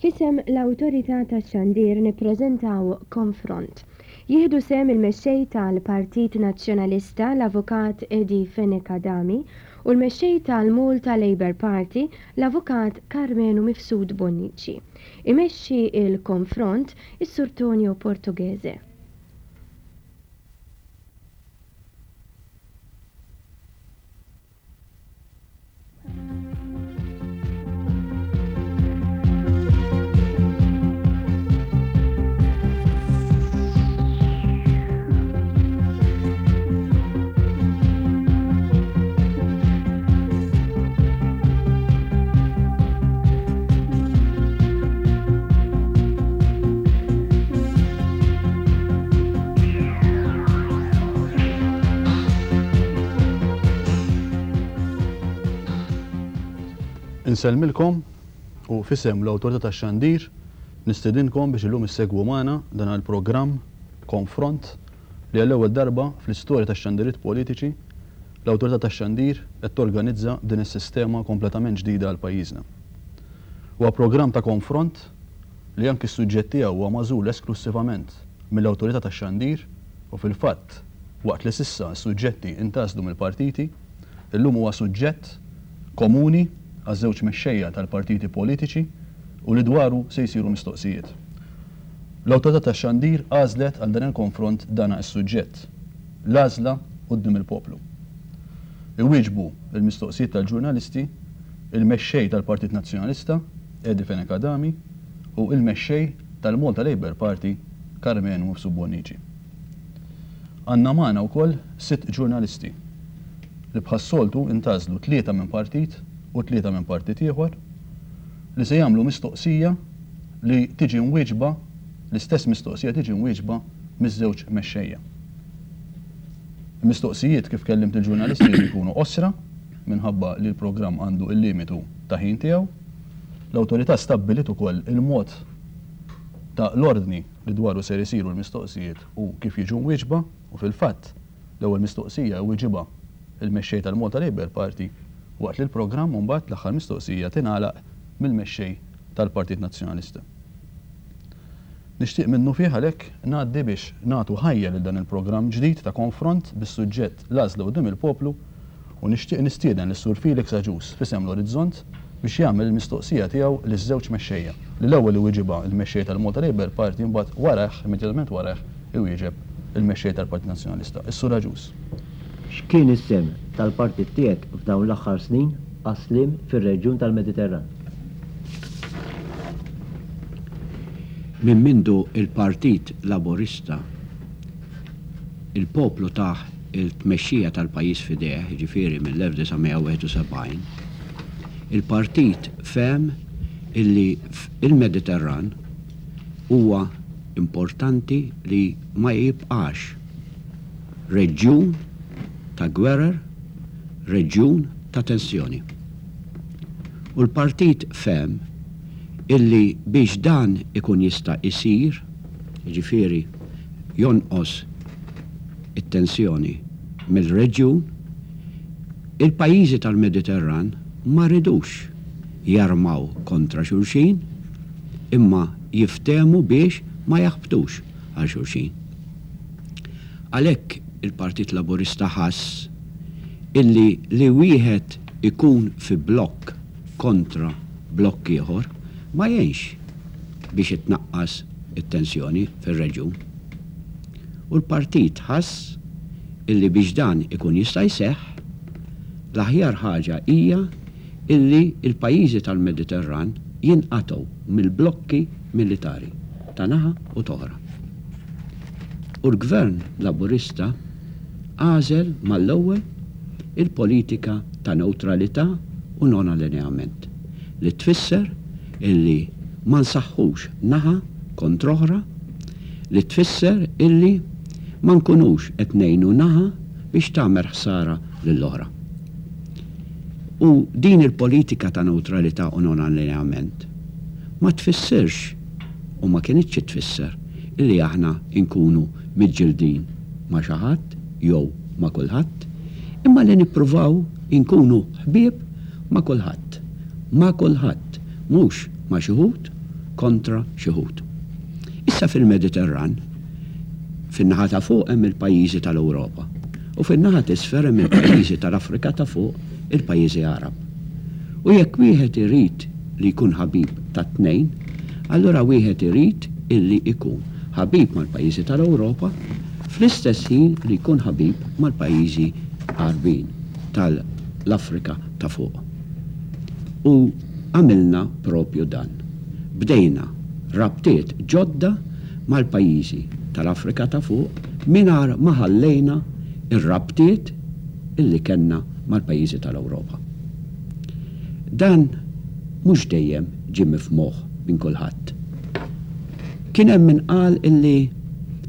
F'isem l-Awtorità tax-Xandir nippreżentaw Konfront. Jieħdu sehem il-Mexxej tal-Partit Nazzjonalista l-Avukat Eddie Fenech Adami u l-Mexxej tal-Malta Labour Party l-Avukat Karmenu Mifsud Bonnici. Imexxi l-Konfront is-Sur Tonio Portughese. Insellmilkom u f'isem l-Awtorità tax-Xandir nistedinkom biex illum issegwu magħna dan il-programm Konfront li għall-ewwel darba fl-istorja tax-xandiriet politiċi l-Awtorità tax-Xandir qed torganizza b'din is-sistema kompletament ġdida għal pajjiżna. Huwa programm ta' konfront li anki s-suġġett tiegħu huwa magħżul esklussivament mill-Awtorità tax-Xandir u fil-fatt waqt li s'issa s-suġġetti intgħażlu mill-partiti, illum huwa suġġett komuni għaż-żewġ mexxejja tal-partiti politiċi u li dwaru se jsiru mistoqsijiet. L-Awtorità tax-Xandir għażlet għal dan il-konfront dana s-suġġett, L-għażla quddiem il-poplu. Iwieġbu l-mistoqsijiet tal-ġurnalisti il-Mexxej tal-Partit Nazzjonalista, Eddie Fenech Adami, u il-Mexxej tal-Malta Labour Party, Karmenu Mifsud Bonnici. Għandna magħna wkoll sitt ġurnalisti li bħas-soltu ntgħażlu tlieta minn partit u tlieta minn partit ieħor li se jagħmlu mistoqsija li tiġi mwieġba, l-istess mistoqsija tiġi mwieġba miż-żewġ mexxejja. Il-mistoqsijiet kif kellimt il-ġurnalisti jridu jkunu qosra minħabba li l-programm għandu l-limitu ta' ħin tiegħu. L-awtorità stabbiliet ukoll il-mod ta' l-ordni li dwaru ser isiru l-mistoqsijiet u kif jiġu mwieġba u fil-fatt l-ewwel mistoqsija jwieġibha l-Mexxej tal-Malta Labour Party waqt li l-programm imbagħad l-aħħar mistoqsija tingħalaq mill-Mexxej tal-Partit Nazzjonalista. Nixtieq minnufih għalhekk ngħaddi biex nagħtu ħajja lil dan il-programm ġdid ta' konfront bis-suġġett L-Għażla Quddiem il-Poplu u nixtieq nistieden lis-Sur Felix Agius f'isem l-Orizzont biex jagħmel il-mistoqsija tiegħu liż-żewġ mexxejja, li l-ewwel iwieġibha l-Mexxej tal-Malta Labour Party imbagħad warajh, immedjatament warajh, iwieġeb il-Mexxej tal-Partit Nazzjonalista. Is-Sur Agius. X'kien is-sehem tal-partit tiegħek f'dawn l-aħħar snin għas-sliem fir-reġjun tal-Mediterran? Minn mindu l-Partit Laburista il-poplu tah il-tmexxija tal-pajjiż f'idejh, jiġifieri mill-1971, il-partit fehem illi il-Mediterran huwa importanti li ma jibqax reġjun ta' gwerer, reġjun ta' tensjoni. U l-partit fehem illi biex dan ikun jista' jsir, jiġifieri jonqos it-tensjoni mill-reġjun, il-pajjiżi tal-Mediterran ma ridux jarmaw kontra xulxin imma jiftehmu biex ma jaħbtux għal xulxin. Għalhekk il-Partit Laburista ħass illi li wieħed ikun fi blokk kontra blokk ieħor ma jgħinx biex itnaqqas it-tensjoni fir-reġjun. U l-partit ħass illi biex dan ikun jista' jseħħ, l-aħjar ħaġa hija illi l-pajjiżi tal-Mediterran jinqatgħu mill-blokki militari ta' naħa u t'oħra. U l-Gvern Laburista għażel mal-ewwel il-politika ta' newtralità u non-allineament, li tfisser illi ma nsaħħux naħa kontra oħra, li tfisser illi ma nkunux qed ngħinu naħa biex tagħmel ħsara lill-oħra. U din il-politika ta' newtralità u non-allineament ma tfissirx u ma kinitx tfisser illi aħna nkunu miġġildin ma' xi ħadd jew ma' kulħadd, imma li nippruvaw inkunu ħbieb ma' kulħadd. Ma' kulħadd, mhux ma' xi wħud. kontra xi wħud. Issa fil-Mediterran, fin-naħa ta' fuq hemm il-pajjiżi tal-Ewropa u fin-naħa t'isfel hemm il-pajjiżi tal-Afrika ta' fuq, il-pajjiżi Għarab. U jekk wieħed irid li jkun ħabib tat-tnejn, allura wieħed irid illi jkun ħabib mal-pajjiżi tal-Ewropa fl-istess ħin li jkun ħabib mal-pajjiżi Għarbin tal-Afrika ta' fuq. U għamilna propju dan. Bdejna rabtiet ġodda mal-pajjiżi tal-Afrika ta' fuq mingħajr ma ħallejna r-rabtiet illi kellna mal-pajjiżi tal-Ewropa. Dan mhux dejjem ġie mifmuh minn kulħadd. Kien hemm min qal illi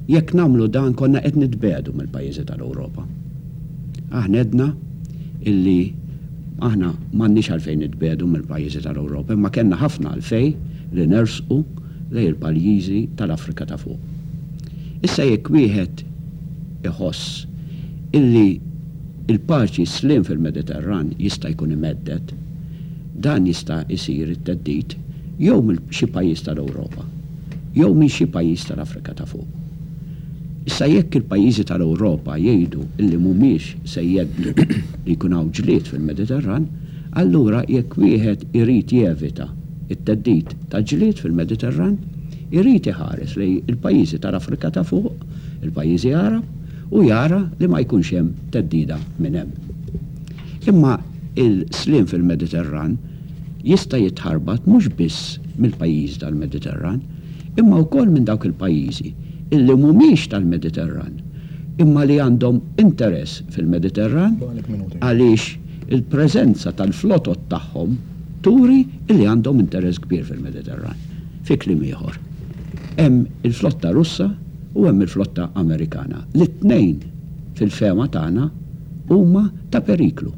jekk nagħmlu dan konna qed nitbiegħdu mill-pajjiżi tal-Ewropa. Aħna għedna illi aħna m'għandniex għalfejn nitbiegħdu mill-pajjiżi tal-Ewropa imma kellna ħafna għalfejn li nersqu lejn il-pajjiżi tal-Afrika ta' fuq. Issa jekk wieħed iħoss illi l-paċi, s-sliem fil-Mediterran jista' jkun imhedded, dan jista' jsir it-theddid jew minn xi pajjiż tal-Ewropa jew minn xi pajjiż tal-Afrika ta' fuq. Issa jekk il-pajjiżi tal-Ewropa jgħidu illi mhumiex se jheddu li jkun hawn ġlied fil-Mediterran, allura jekk wieħed irid jevita t-theddid ta' ġlied fil-Mediterran, irid iħares lejn il-pajjiżi tal-Afrika ta' fuq, il-pajjiżi Għarab, u jara li ma jkunx hemm theddida minn hemm. Imma il-sliem fil-Mediterran jista' jitħarbat mhux biss mill-pajjiżi tal-Mediterran, imma wkoll minn dawk il-pajjiżi illi mhumiex tal-Mediterran, imma li għandhom interess fil-Mediterran għaliex il-preżenza tal-flotot tagħhom turi illi għandhom interess kbir fil-Mediterran. Fi kliem ieħor, hemm il-flotta Russa u hemm il-flotta Amerikana li t-tnejn fil-fehma tagħna huma ta' periklu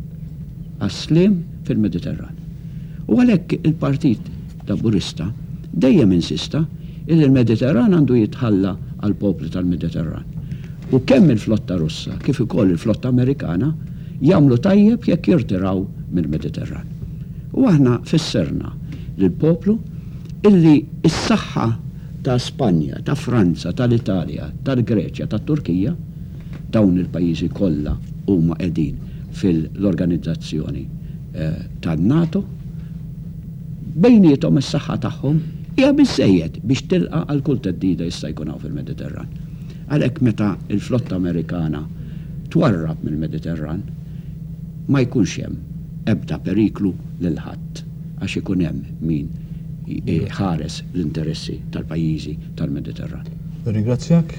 għas-sliem fil-Mediterran. U għalhekk il-Partit Laburista dejjem insista illi l-Mediterran għandu jitħalla għall-popli tal-Mediterran. U kemm il-flotta Russa kif ukoll il-flotta Amerikana jagħmlu tajjeb jekk jirtiraw mill-Mediterran. U aħna fissirna lill-poplu illi s-saħħa ta' Spanja, ta' Franza, tal-Italja, tal-Greċja, tat-Turkija, dawn il-pajjiżi kollha huma qegħdin fil-organizzazzjoni tan-NATO, bejniethom is-saħħa tagħhom hija biżżejjed biex tilqa' għal kull theddida jista' jkun hawn fil-Mediterran. Għalhekk meta l-flotta Amerikana twarrab mill-Mediterran ma jkunx hemm ebda periklu lil ħadd għax ikun hemm min iħares l-interessi tal-pajjiżi tal-Mediterran. Nirringrazzjak.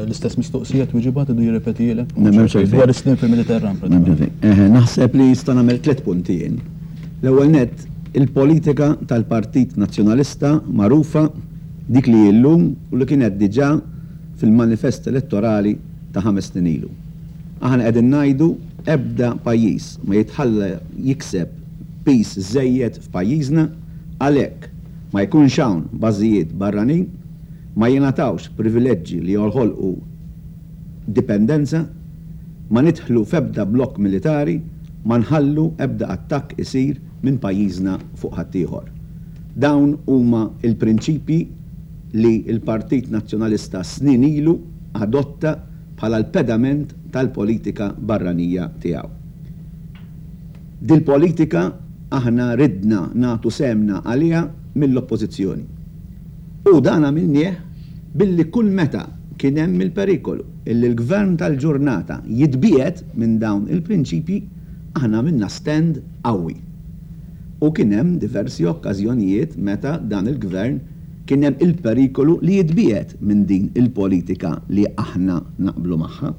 L-istess mistoqsija tweġiba tridu jirrepetihielek? Dwar is-sliem fil-Mediterran pratikament. Naħseb li nista' nagħmel tlett punti jien. L-ewwel nett, il-politika tal-Partit Nazzjonalista magħrufa, dik li hi llum u li kienet diġà fil-manifest elettorali ta' ħames snin ilu. Aħna qegħdin ngħidu ebda pajjiż ma jitħalla jikseb piż żejjed f'pajjiżna, għalhekk ma jkunx hawn bażijiet barranin, ma jingħatawx privileġġi li joħolqu dipendenza, ma nidħlu f'ebda blokk militari, ma nħallu ebda attakk isir minn pajjiżna fuq ħaddieħor. Dawn huma l-prinċipji li l-Partit Nazzjonalista snin ilu adotta bħala l-pedament tal-politika barranija tiegħu. Dil-politika aħna ridna nagħtu sehemna għaliha mill-Oppożizzjoni. U dan għamilnieh billi kull meta kien hemm il-perikolu illi l-Gvern tal-ġurnata jitbiegħed minn dawn il-prinċipji, aħna għamilna stand qawwi. U kien hemm diversi okkażjonijiet meta dan il-Gvern kien hemm il-perikolu li jitbiegħed minn din il-politika li aħna naqblu magħha.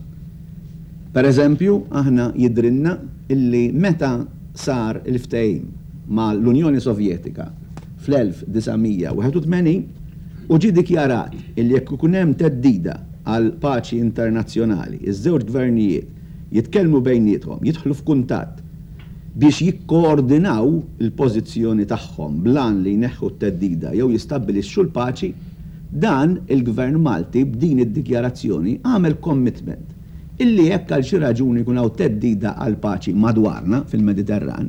Per eżempju, aħna jidhrilna illi meta sar il-ftehim ma' l-Unjoni Sovjetika fl-1981 u ġie dikjarat illi jekk ikun hemm theddida għall-paċi internazzjonali, iż-żewġ gvernijiet jitkellmu bejniethom, jidħlu f'kuntatt biex jikkoordinaw il-pożizzjoni tagħhom bl-għan li jneħħu t-theddida jew jistabbilixxu l-paċi, dan il-Gvern Malti b'din id-dikjarazzjoni għamel commitment illi jekk għal xi raġuni jkun hawn theddida għall-paċi madwarna fil-Mediterran,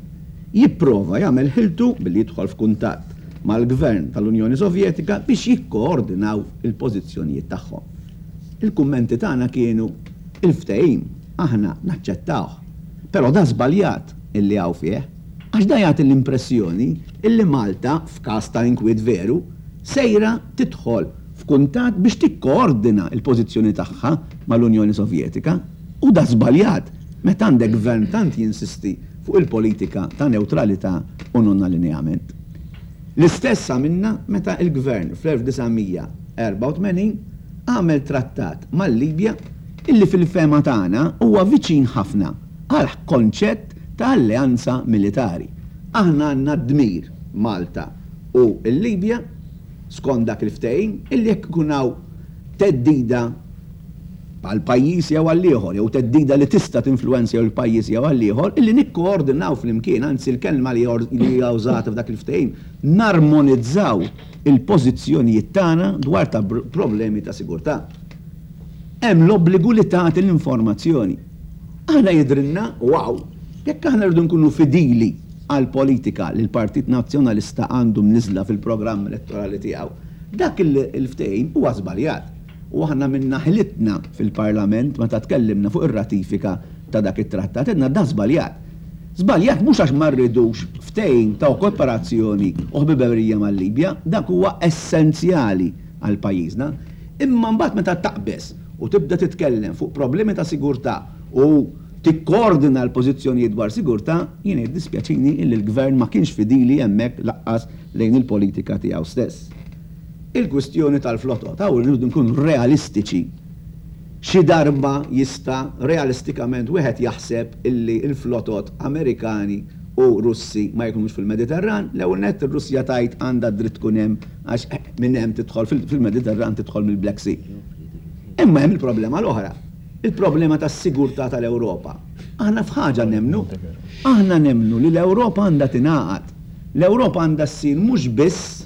jipprova jagħmel ħiltu billi jidħol f'kuntatt. mal-Gvern tal-Unjoni Sovjetika biex jikkoordinaw il-pożizzjonijiet tagħhom. Il-kummenti tagħna kienu, il-ftehim aħna naċċettawh, però da żbaljat illi hawn fih, għax da jagħti l-impressjoni illi Malta, f'każ ta' inkwiet veru, sejra tidħol f'kuntatt biex tikkoordina l-pożizzjoni tagħha mal-Unjoni Sovjetika. U da żbaljat meta għandek gvern tant jinsisti fuq il-politika ta' newtralità u non-allineament. L-istess għamilna meta l-gvern fl-1984 għamel trattat mal-Libja illi fil-fehma tagħna huwa viċin ħafna għall-konċett ta' alleanza militari. Aħna għandna d-dmir, Malta u l-Libja, skont dak il-ftehim, illi jekk ikun hawn theddida għal pajjiż jew għal ieħor, jew theddida li tista' tinfluwenza jew il-pajjiż jew għal ieħor, illi nikkoordinaw flimkien, anzi l-kelma li hija użata f'dak il-ftehim, narmonizzaw il-pożizzjonijiet tagħna dwar ta' problemi ta' sigurtà. Hemm l-obbligu li tagħti l-informazzjoni. Aħna jidhrilna, u hawn, jekk aħna rridu nkunu fidili għall-politika li l-Partit Nazzjonalista għandu mniżżla fil-programm elettorali tiegħu, dak il-ftehim huwa żbaljat. U aħna għamilna ħilitna fil-Parlament meta tkellimna fuq ir-ratifika ta' dak it-trattat, għedna dan żbaljat. Żbaljat mhux għax ma rridux ftehim ta' kooperazzjoni u ħbiberija mal-Libja, dak huwa essenzjali għal pajjiżna, imma mbagħad meta taqbeż u tibda titkellem fuq problemi ta' sigurtà u tikkoordina l-pożizzjonijiet dwar sigurtà, jiena jiddispjaċini illi l-Gvern ma kienx fidili hemmhekk lanqas lejn il-politika tiegħu stess. Il-kwistjoni tal-flotot, hawn irridu nkunu realistiċi. Xi darba jista' realistikament wieħed jaħseb illi l-flotot Amerikani u Russi ma jkunux fil-Mediterran? L-ewwel nett ir-Russja tgħid għandha d-dritt tkun hemm għax minn hemm tidħol fil-Mediterran tidħol mill-Black Sea. Imma hemm il-problema l-oħra, il-problema tas-sigurtà tal-Ewropa. Aħna f'ħaġa nemmnu, aħna nemmnu li l-Ewropa għandha tingħaqad. L-Ewropa għandha ssir mhux biss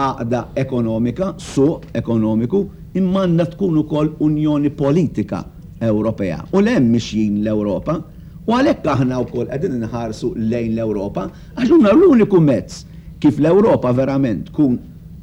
għaqda ekonomika, suq ekonomiku, imma għandha tkun ukoll unjoni politika Ewropea. U 'l hemm mixjin l-Ewropa. U għalhekk aħna wkoll qegħdin inħarsu lejn l-Ewropa, għax huma l-uniku mezz kif l-Ewropa verament tkun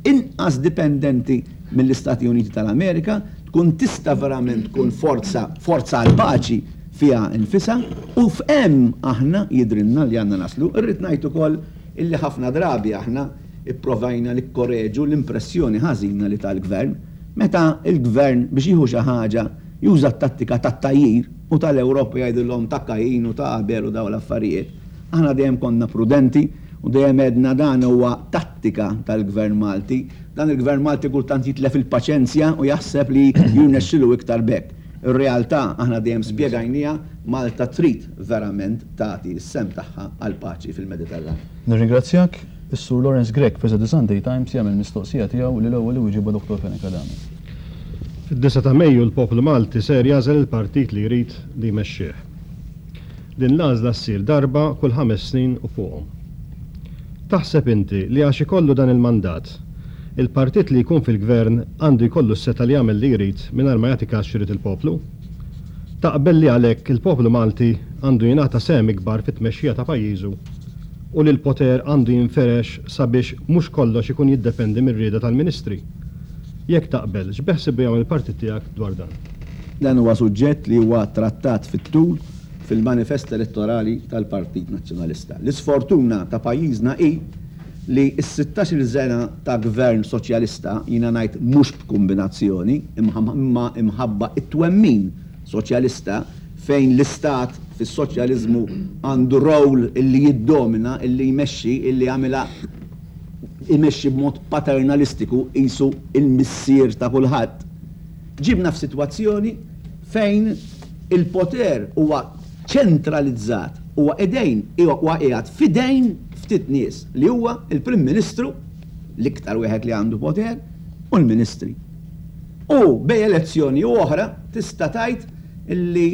inqas dipendenti mill-Istati Uniti tal-Amerika, tkun tista' verament tkun forza, forza għall-paċi fiha nfisha, u f'hemm aħna jidhrilna li għandna naslu. Irrid ngħid ukoll illi ħafna drabi aħna Ipprovajna nikkoreġu l-impressjoni ħażina li ta l-Gvern. Meta l-Gvern biex jieħu xi ħaġa juża t-tattika tat-tgħajjir u tal-Ewropa jgħidilhom ta' Kajin u ta' Abel u dawn l-affarijiet. Aħna dejjem konna prudenti u dejjem għedna dan huwa tattika tal-Gvern Malti. Dan il-Gvern Malti kultant jitlef il-paċenzja u jaħseb li jirnexxilu iktar b'hekk. Ir-realtà aħna dejjem spjegajniha, Malta trid verament tagħti s-sehem tagħha għall-paċi fil-Mediterran. Nirringrazzjak. Is-Sur Lawrence Grech f'Isa The Sunday Times jagħmel mistoqsija tiegħu li l-ewwel iwieġibha Dottor Fenech Adami. Fid-disgħa ta' Mejju l-poplu Malti ser jagħżel il-partit li jrid li jmexxih. Din l-għażla ssir darba kull ħames snin u fuqhom. Taħseb inti li għax ikollu dan il-mandat, il-partit li jkun fil-gvern għandu jkollu s-setgħa li jagħmel li jrid mingħajr ma jagħti kas x'irid il-poplu? Taqbel li għalhekk il-poplu Malti għandu jingħata sehem ikbar fit-tmexxija ta' pajjiżu u li l-poter għandu jinferex sabiex mhux kollox ikun jiddependi mir-rieda tal-Ministri? Jekk taqbel, x'beħsiebu jagħmel il-partit tiegħek dwar dan? Dan huwa suġġett li huwa trattat fit-tul fil-manifest elettorali tal-Partit Nazzjonalista. L-isfortuna ta' pajjiżna hi li s-sittax-il sena ta' Gvern Soċjalista, jiena ngħid mhux b'kumbinazzjoni, imma imħabba t-twemmin Soċjalista, fejn l-Istat fis-soċjaliżmu għandu role illi jiddomina, illi jmexxi, illi jagħmilha imexxi b'mod paternalistiku qisu l-missier ta' kulħadd, ġibna f'sitwazzjoni fejn il-poter huwa ċentralizzat, huwa idejn, huwa qiegħed f'idejn ftit nies li huwa l-Prim Ministru, l-iktar wieħed li għandu poter, u l-Ministri. U bejn elezzjoni u oħra tista' tgħid illi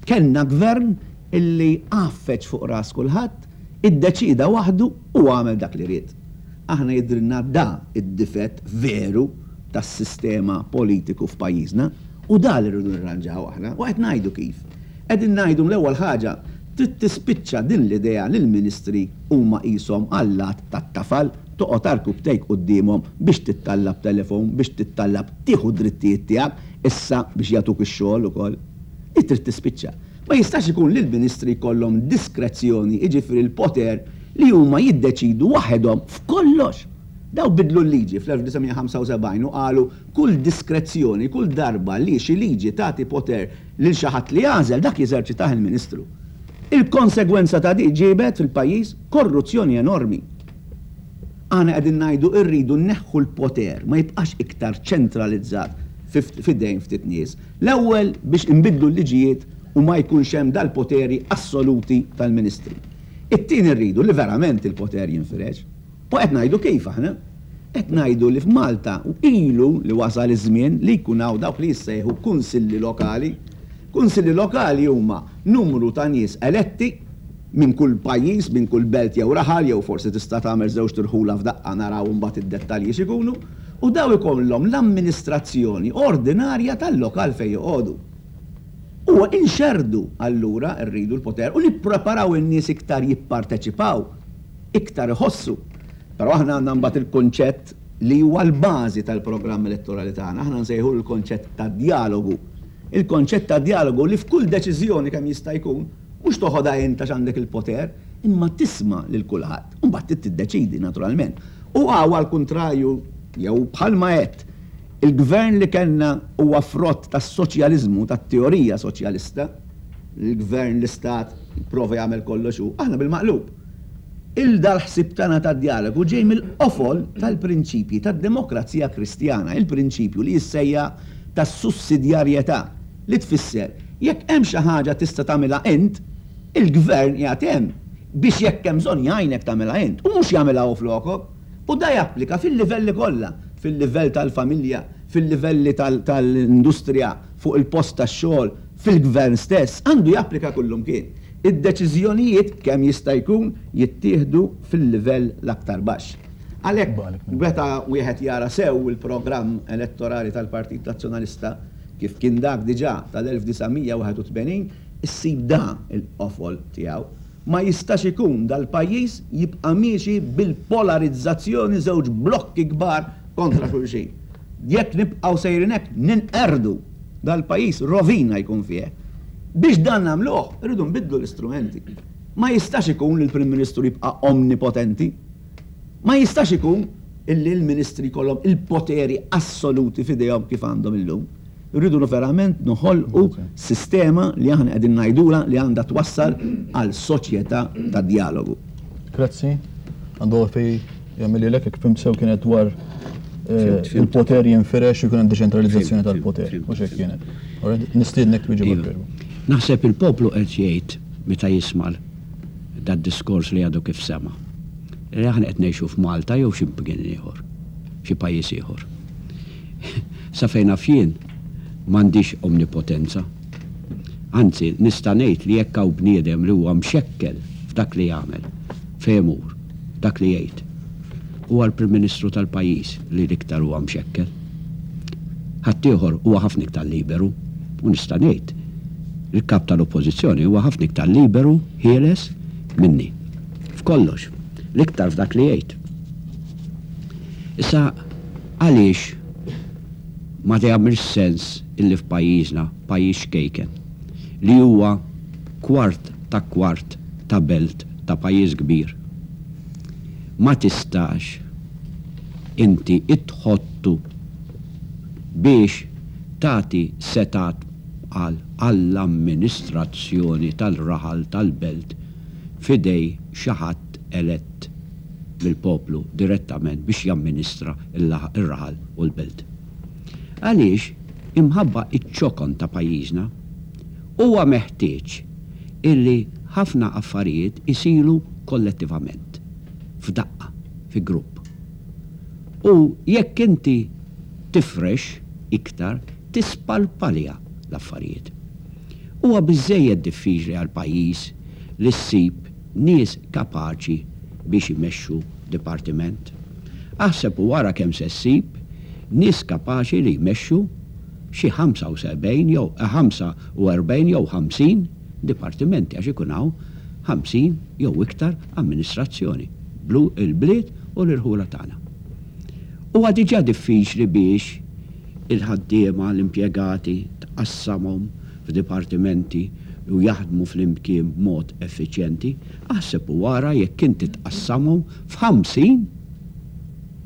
kellna gvern illi għaffeġ fuq ras kulħadd, iddeċieda waħdu u għamel dak li ried. Aħna jidhrilna da d-difett veru tas-sistema politiku f'pajjiżna u da li rridu nirranġaw aħna u qed ngħidu kif. Qegħdin ngħidu l-ewwel ħaġa trid tispiċċa din l-idea li l-ministri huma qishom allat tat-tafal. Toqgħod għarkupptejk quddiemhom biex tittallab telefon, biex tittallab tieħu d-drittijiet tiegħek issa biex jagħtuk ix-xogħol ukoll. Hi trid tispiċċa. Ma jistax ikun li l-Ministri jkollhom diskrezzjoni, jiġifieri l-poter li huma jiddeċidu waħedhom f'kollox. Daw biddlu l-liġi fl-1975 u qalu kull diskrezzjoni, kull darba li xi liġi tagħti poter lil xi ħadd li jagħżel, dak jeżerċitah il-Ministru. Il-konsegwenza ta' di ġiebet fil-pajjiż korruzzjoni enormi. Aħna qegħdin ngħidu rridu nneħħu l-poter, ma jibqax iktar ċentralizzat f'idejn ftit nies. L-ewwel biex inbiddlu l-liġijiet u ma jkunx hemm dal-poteri assoluti tal-Ministri. It-tieni rridu li verament il-poter jinfirex. U qed ngħidu kif aħna? Qed ngħidu li f'Malta ilu li wasal iż-żmien li jkun hawn dawk li jissejħu kunsilli lokali. Kunsilli lokali huma numru ta' nies eletti minn kull pajjiż, minn kull belt jew raħal jew forsi tista' tagħmel żewġt irħula f'daqqa naraw imbagħad id-dettalji x'ikunu, u dawn ikollhom l-amministrazzjoni ordinarja tal-lokal fejn joqogħdu. U inxerrdu allura rridu l-poter u nippreparaw in-nies iktar jipparteċipaw. iktar iħossu. Però aħna għandna mbagħad il-kunċett li huwa l-bażi tal-programm elettorali tagħna, aħna nsejħulu l-konċett ta' djalogu. Il-konċett ta' djalogu li f'kull deċiżjoni kemm jista' jkun, mhux toħodha int għax għandek il-poter, imma tisma' lil kulħadd. U mbagħad trid tiddeċiedi naturalment. U hawn għall-kuntrarju, jew bħalma għedt, il-gvern li kellna huwa frott tas-soċjaliżmu, tat-teorija soċjalista, l-gvern, l-istat, jipprova jagħmel kollox hu, aħna bil-maqlub. Il dal-ħsieb tagħna tad-djalogu ġej mill-qofol tal-prinċipji tad-demokrazija Kristjana, il-prinċipju li jissejjaħ tas-sussidjarjetà, li tfisser jekk hemm xi ħaġa tista' tagħmilha int, il-gvern qiegħed hemm biex jekk hemm bżonn jgħinek tagħmilha int u mhux jagħmilha hu flokok. U da japplika fil-livelli kollha, fil-livell tal-familja, fil-livelli tal-industrija, fuq il-post tax-xogħol, fil-gvern stess, għandu japplika kullumkien. Id-deċiżjonijiet, kemm jista' jkun, jittieħdu fil-livell l-aktar baxx. Għalhekk, meta wieħed jara sew il-programm elettorali tal-Partit Nazzjonalista, kif kien dak diġà tal-1981, issib dan il-qofol tiegħu. Ma jistax ikun dal-pajjiż jibqa' miexi bil-polarizzazzjoni żewġ blokki kbar kontra xulxin. Jekk nibqgħu sejrin hekk ninqerdu. Dal-pajjiż rovina jkun fih. Biex dan nagħmluh, irridu nbiddlu l-istrumenti. Ma jistax ikun li l-Prim Ministru jibqa' omnipotenti. Ma jistax ikun illi l-Ministri jkollhom il-poteri assoluti f'idejhom kif għandhom illum. Irridu verament noħolqu sistema li aħna qegħdin ngħidulha li għandha twassal għal soċjetà ta' djalogu. Grazzi. Għandu għalfejn jagħmililek jekk fhimt sew kienet dwar il-poter jinfirex u jkun hemm deċentralizzazzjoni tal-poter. Mhux hekk kienet. Nistiednek twieġeb għal Iva. Naħseb il-poplu qed jgħid meta jisma' dad-diskors li għadu kif sema'. Li aħna qed ngħixu f'Malta jew xi mkien ieħor, xi pajjiż ieħor. Sa fejn naf jien, m'għandix omnipotenza. Anzi, nista' ngħid li jekk hawn bniedem li huwa mxekkel f'dak li jagħmel, fejn imur, dak li jgħid, huwa l-Prim Ministru tal-pajjiż li l-iktar huwa mxekkel. Ħaddieħor huwa ħafna iktar liberu u nista' ngħid li l-Kap tal-Oppożizzjoni huwa ħafna iktar liberu, ħieles, minni. F'kollox. L-iktar f'dak li jgħid. Issa għaliex ma jagħmilx sens illi f'pajjiżna, pajjiż ċkejken, li huwa kwart ta' kwart ta' belt ta' pajjiż kbir, ma tistax inti tħottu biex tagħti setgħat għal għall-amministrazzjoni tal-raħal tal-belt f'idej xi ħadd elett mill-poplu direttament biex jamministra r-raħal u l-belt. Għaliex, imħabba ċ-ċokon ta' pajjiżna, huwa meħtieġ illi ħafna affarijiet isiru kollettivament, f'daqqa, fi grupp. U jekk inti tifrex iktar, tispalpalja l-affarijiet. Huwa biżżejjed diffiċli għal pajjiż li ssib nies kapaċi biex imexxu dipartiment. Aħseb u ara kemm se ssib nies kapaċi li jmexxu xi 75 jew 45 jew 50 dipartimenti għax ikun hawn 50 jew iktar amministrazzjoni, il-bliet u l-irħula tagħna. Huwa diġà diffiċli biex il-ħaddiema, l-impjegati tqassamhom f'dipartimenti u jaħdmu flimkien b'mod effiċjenti, aħseb u ara jekk inti tqassamhom f'ħamsin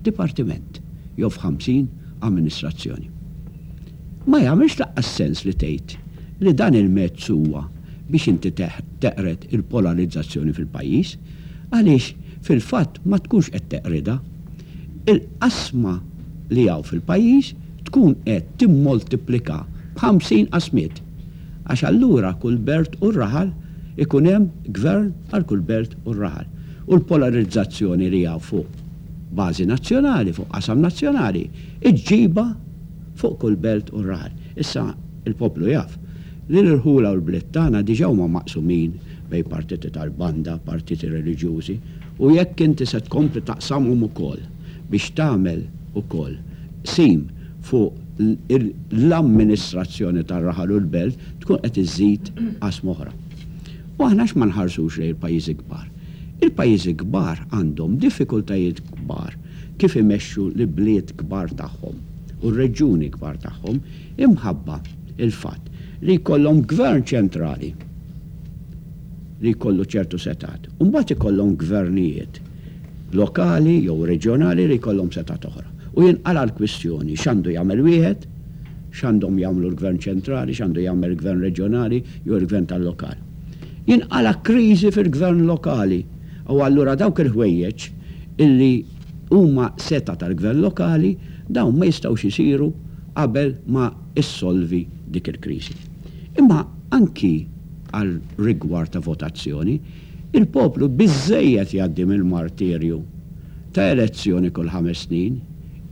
dipartiment jew f'ħamsin amministrazzjoni. Ma jagħmilx lanqas sens li tgħid li dan il-mezz huwa biex inti teqred il-polarizzazzjoni fil-pajjiż, għaliex fil-fatt ma tkunx qed teqridha. Il-qasma li hawn fil-pajjiż tkun qed timmoltiplika b'ħamsin qasmiet. Għax allura kull belt u raħal ikun hemm gvern għal kull belt u raħal. U l-polarizzazzjoni li hawn fuq bażi nazzjonali, fuq qasam nazzjonali, iġġibha fuq kull belt u raħal. Issa l-poplu jaf li l-irħula u l-bliet tagħna diġà huma maqsumin bejn partiti tal-banda, partiti reliġjużi, u jekk inti se tkompli taqsamhom ukoll biex tagħmel ukoll qsim fuq l-amministrazzjoni tar-raħal u l-belt tkun qed iżżid qasma oħra. U aħna għax ma nħarsux lejn il-pajjiżi kbar? Il-pajjiżi kbar għandhom diffikultajiet kbar kif imexxu l-ibliet kbar tagħhom u r-reġjuni kbar tagħhom imħabba l-fatt li jkollhom gvern ċentrali li jkollu ċertu setgħat u mbagħad ikollhom gvernijiet lokali jew reġjonali li jkollhom setgħat oħra. U jinqala' l-kwistjoni x'għandu jagħmel wieħed, x'għandhom jagħmlu l-gvern ċentrali, x'għandu jagħmel il-gvern reġjonali jew il-gvern tal-lokal. Jinqala' kriżi fil-gvern lokali u allura dawk il-ħwejjeġ illi huma setgħa tal-gvern lokali dawn ma jistgħux isiru qabel ma ssolvi dik il-kriżi. Imma anki għal rigward ta' votazzjoni, il-poplu biżżejjed jgħaddi mill-martirju ta' elezzjoni kull ħames snin.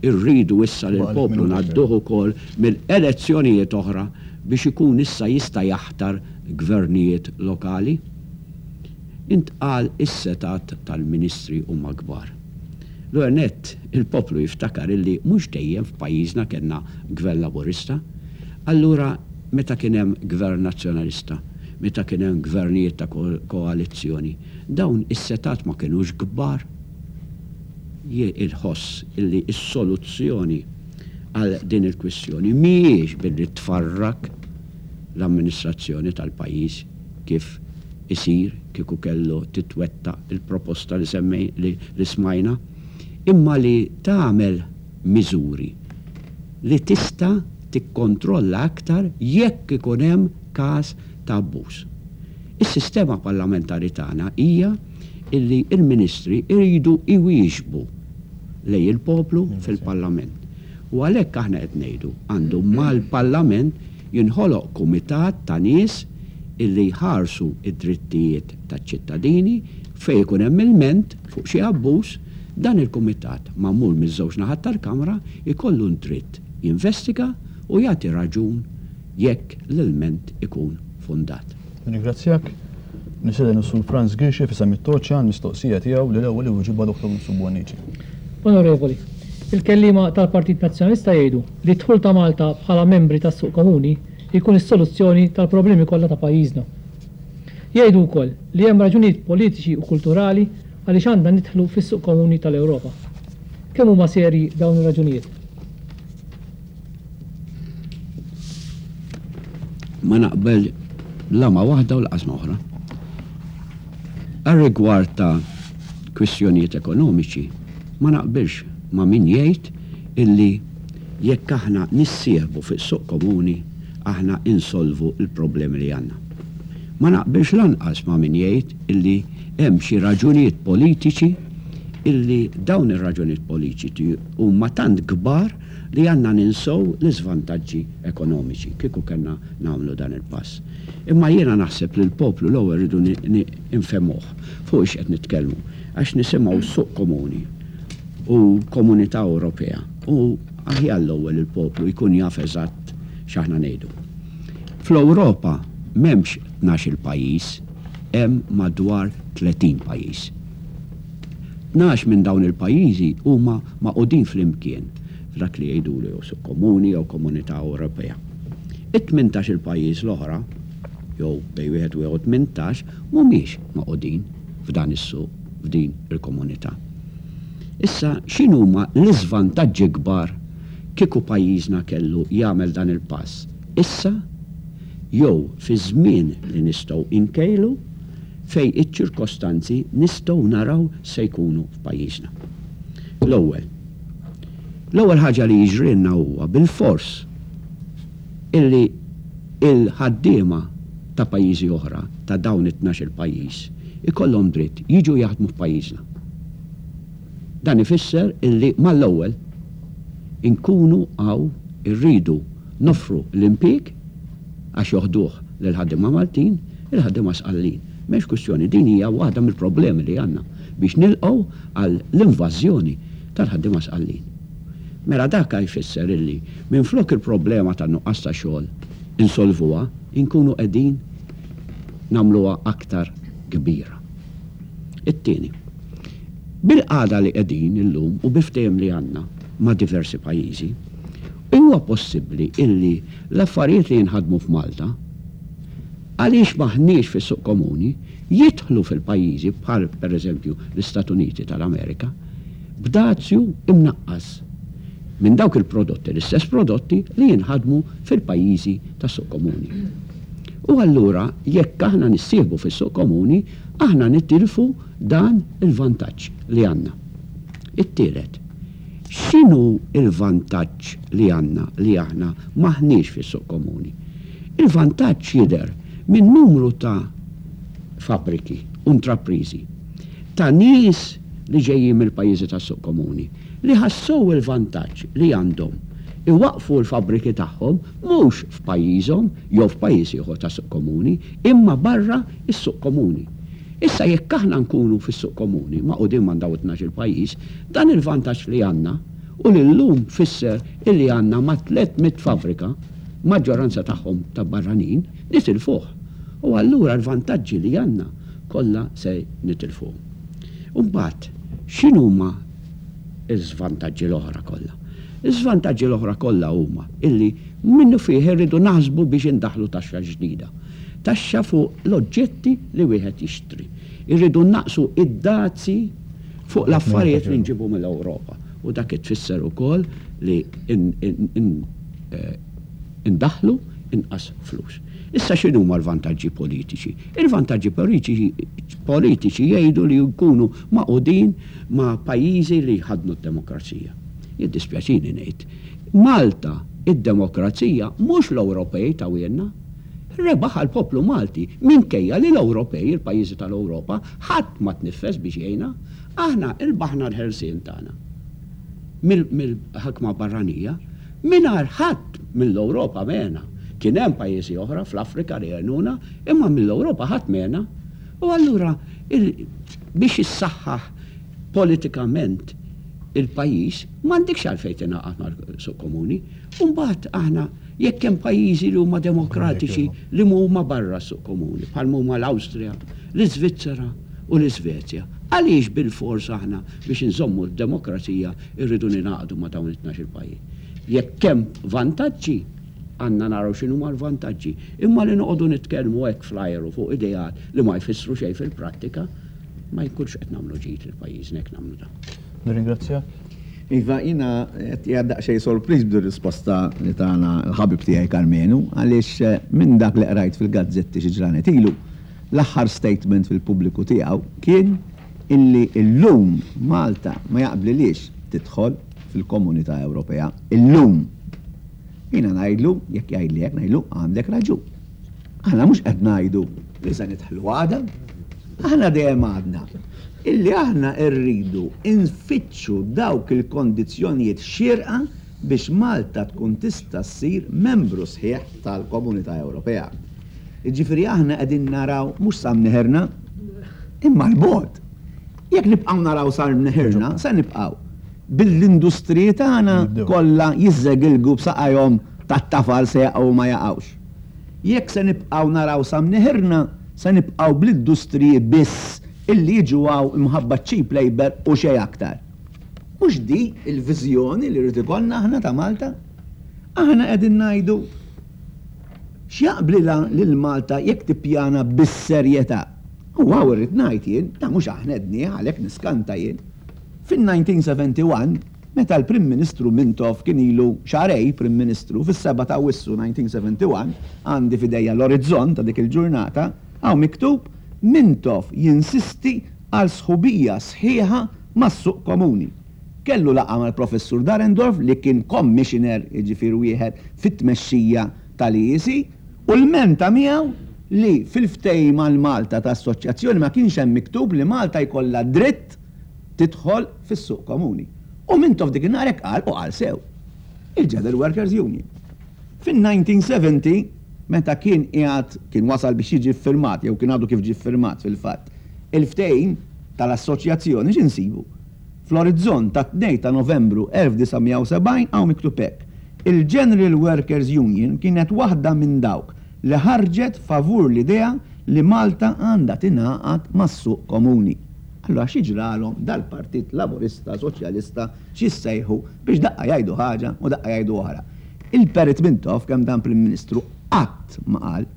Irridu issa li l-poplu ngħadduh ukoll mill-elezzjonijiet oħra biex ikun issa jista' jaħtar gvernijiet lokali? Intqal is-setgħat tal-ministri huma kbar. L-ewwel nett, il-poplu jiftakar illi mhux dejjem f'pajjiżna kellna Gvern Laburista. Allura meta kien hemm Gvern Nazzjonalista, meta kien hemm gvernijiet ta' koalizzjoni, dawn is-setgħat ma kinux kbar? Jien inħoss illi s-soluzzjoni għal din il-kwistjoni mhijiex billi tfarrak l-amministrazzjoni tal-pajjiż kif isir kieku kellu titwettaq il-proposta li semmej li li smajna, imma li tagħmel miżuri li tista' tikkontrolla aktar jekk ikun hemm każ ta' abbuż. Is-sistema parlamentari tagħna hija illi l-ministri jridu jwieġbu lejn il-poplu fil-Parlament. U għalhekk aħna qed ngħidu għandu mal-Parlament jinħoloq kumitat ta' nies illi jħarsu d-drittijiet taċ-ċittadini fejn ikun hemm ilment fuq xi abbuż, dan il-kumitat magħmul miż-żewġ naħat tal-Kamra jkollu d-dritt jinvestiga u jagħti raġun jekk l-ilment ikun fondat. Nirringrazzjak. Nistieden lis-Sur Frans Ghirxi f'isem it-Toċċa għall-mistoqsija tiegħu li l-ewwel iwieġibha Dottor Mifsud Bonnici. Onorevoli, il-kelliema tal-Partit Nazzjonalista jgħidu li d-dħul ta' Malta bħala membri tas-suq komuni jkun is-soluzzjoni tal-problemi kollha ta' pajjiżna. Jgħidu wkoll li hemm raġunijiet politiċi u kulturali għaliex għandna nidħlu fis-suq komuni tal-Ewropa. Kemm huma serji dawn ir-raġunijiet? Ma naqbel la ma' waħda u lanqas ma' oħra. Għar-rigward ta' kwistjonijiet ekonomiċi, ma naqbilx ma' min jgħid illi jekk aħna nissieħbu fis-suq komuni aħna insolvu l-problemi li għandna. Ma naqbilx lanqas ma' min jgħid illi hemm xi raġunijiet politiċi illi dawn ir-raġunijiet politiċi huma tant kbar li għandna ninsew l-iżvantaġġi ekonomiċi kieku kellna nagħmlu dan il-pass. Imma jiena naħseb li l-poplu l-ewwel rridu nfehmuh fuq ix qed nitkellmu għax nisimgħu suq komuni u Komunità Ewropea u aħjar l-ewwel il-poplu jkun jaf eżatt x'aħna ngħidu. Fl-Ewropa m'hemmx tnax-il pajjiż, hemm madwar 30 pajjiż. 12 minn dawn il-pajjiżi huma magħqudin flimkien f'dak li jgħidulu jew suq komuni jew Komunità Ewropea. It-tmintax-il pajjiż l-oħra, jew bejn wieħed u ieħor 18, mhumiex magħqudin f'dan is-suq, f'din il-komunità. Issa x'inhuma l-iżvantaġġi kbar kieku pajjiżna kellu jagħmel dan il-pass issa jew fi żmien li nistgħu nkejlu fejn iċ-ċirkostanzi nistgħu naraw x'se jkunu f'pajjiżna. L-ewwel, l-ewwel ħaġa li jiġrilna huwa bilfors illi l-ħaddiema ta' pajjiżi oħra, ta' dawn it-tnax-il pajjiż, ikollhom dritt jiġu jaħdmu f'pajjiżna. Dan ifisser illi mal-ewwel inkunu hawn irridu noffru l-impieg għax joħduh lill-ħaddiema Maltin, il-ħaddiema Sqallin. M'hemmx kwistjoni, din hija waħda mill-problemi li għandna biex nilqgħu għal l-invażjoni tal-ħaddiema Sqallin. Mela dak jfisser illi minflok il-problema tan-nuqqas ta' xogħol insolvuha, inkunu qegħdin nagħmluha aktar kbira. It-tieni, bil-qagħda li qegħdin illum u bil-ftehim li għandna ma' diversi pajjiżi, huwa possibbli illi l-affarijiet li jinħadmu f'Malta, għaliex m'aħniex fis-suq komuni, jidħlu fil-pajjiżi bħal pereżempju l-Istat Uniti tal-Amerika b'dazju imnaqqas minn dawk il-prodotti, l-istess prodotti li jinħadmu fil-pajjiżi tas-suq komuni. U allura jekk aħna nissieħbu fis-suq komuni, aħna nitilfu dan il-vantaġġ li għandna. It-tielet, x'inhu l-vantaġġ li għandna li aħna m'aħniex fis-suq komuni? Il-vantaġġ jidher minn numru ta' fabbriki u intrapriżi ta' nies li ġejjin mill-pajjiżi tas-suq komuni li ħassew il-vantaġġ li għandhom iwaqqfu l-fabbriki tagħhom mhux f'pajjiżhom jew f'pajjiż ieħor tas-suq komuni imma barra s-suq komuni. Issa jekk aħna nkunu fis-suq komuni magħqudin ma' dawn it-tnax-il pajjiż, dan il-vantaġġ li għandna u li llum fisser illi għandna ma' 300 fabbrika, maġġoranza tagħhom ta' barranin, nitilfuh. U allura l-vantaġġi li għandna kollha se nitilfuhom. U mbagħad x'inhuma l-żvantaġġi l-oħra kollha? Iż-żvantaġġi l-oħra kollha huma illi minnufih irridu naħsbu biex indaħħlu taxxa ġdida. Taxxa fuq l-oġġetti li wieħed jixtri. Irridu nnaqqsu id-dazji fuq l-affarijiet li nġibu mill-Ewropa. U dak tfisser ukoll li indaħħlu inqas flus. Issa x'inhuma l-vantaġġi politiċi? Il-vantaġġi politiċi jgħidu li jkunu magħqudin ma' pajjiżi li jħaddnu d-demokrazija. Jiddispjaċini ngħid, Malta id-demokrazija mhux l-Ewropej tawhielna. Rebaħha l-poplu Malti minkejja li l-Ewropej, il-pajjiżi tal-Ewropa, ħadd ma tniffes biex jgħinna. Aħna rbaħna l-ħelsien tagħna mill-ħakma barranija mingħajr ħadd mill-Ewropa m'għena. Kien hemm pajjiżi oħra fl-Afrika li għenuna, imma mill-Ewropa ħadd m'għena. U allura biex issaħħaħ politikament il-pajjiż m'għandikx għalfejn tingħaqad mal-suq komuni. U mbagħad aħna jekk hemm pajjiżi li huma demokratiċi li huma barra s-suq komuni, bħal huma l-Awstrija, l-Iżvizzera u l-Iżvezja, għaliex bilfors aħna biex inżommu d-demokrazija rridu ningħaqdu ma' dawn it-tnax-il pajjiż? Jekk hemm vantaġġi, għandna naraw x'inhuma l-vantaġġi. Imma li noqogħdu nitkellmu hekk fl-ajru fuq ideat li ma jfissru xejn fil-prattika, ma jkunx qed nagħmlu ġid lil pajjiżna jekk nagħmlu dan. Nirringrazzjak. Iva, jiena qed qiegħed daqsxejn sorpriż b'dir-risposta li tana l-ħabib tiegħi Karmenu, għaliex minn dak li qrajt fil-gazzetti xi ġranet ilu, l-aħħar statement fil-pubbliku tiegħu kien illi llum Malta ma jaqblilhiex tidħol fil-Komunità Ewropea. Illum! Jiena ngħidlu, jekk jgħidli hekk, ngħidlu għandek raġun. Aħna mhux qed ngħidu li se nidħlu għada. Aħna dejjem għadna illi aħna rridu nfittxu dawk il-kondizzjonijiet xierqa biex Malta tkun tista' ssir membru sħiħ tal-Komunità Ewropea. Jiġifieri aħna qegħdin naraw mhux sa mneħirna, imma 'l bogħod. Jekk nibqgħu naraw sa mneħirna, se nibqgħu bil-industriji tagħna kollha jiżżegilgu b'saqajhom tat-tafal se jaqgħu u ma jaqgħux. Jekk se nibqgħu naraw sa mneħirna, se nibqgħu bl-industriji biss illi jiġu hawn imħabba ċ-cheap labour u xejn aktar. Mhux di l-viżjoni li rrid ikollna aħna ta' Malta? Aħna qegħdin ngħidu x'jaqblilha lil Malta jekk tippjana bis-serjetà. U hawn irrid ngħid jien, dan mhux aħna għednieh għalhekk niskanta jien. Fin-1971, meta l-Prim Ministru Mintoff kien ilu xahrejn Prim Ministru, fis-7 ta' Awwissu 1971, għandi f'idejja l-Orizzont ta' dik il-ġurnata, hawn miktub, Mintoff jinsisti għal sħubija sħiħa mas-suq komuni. Kellu laqgħa mal-Professur Dahrendorf li kien Commissioner, jiġifieri wieħed fit-tmexxija tal-EEC, u lmenta miegħu li fil-ftehim għal Malta ta' assoċjazzjoni ma kienx hemm miktub li Malta jkollha dritt tidħol fis-suq komuni. U Mintoff dik in-nhar hekk qal u qal sew. Il-General Workers Union. Fin-1970, meta kien qiegħed, kien wasal biex jiġi ffirmat, jew kien għadu kif ġie ffirmat fil-fatt, il-ftehim tal-assoċjazzjoni, x'insibu? Fl-Orizzont tat-2 ta' Novembru 1970 hawn miktub hekk, Il-General Workers Union kienet waħda minn dawk li ħarġet favur l-idea li Malta għandha tingħaqad mas-suq komuni. Allura xi ġralhom dal-Partit Laburista, Soċjalista, x'jissejħu biex daqqa jgħidu ħaġa u daqqa jgħidu oħra. Il-Perit Mintoff, kemm dam Prim Ministru, qatt ma qal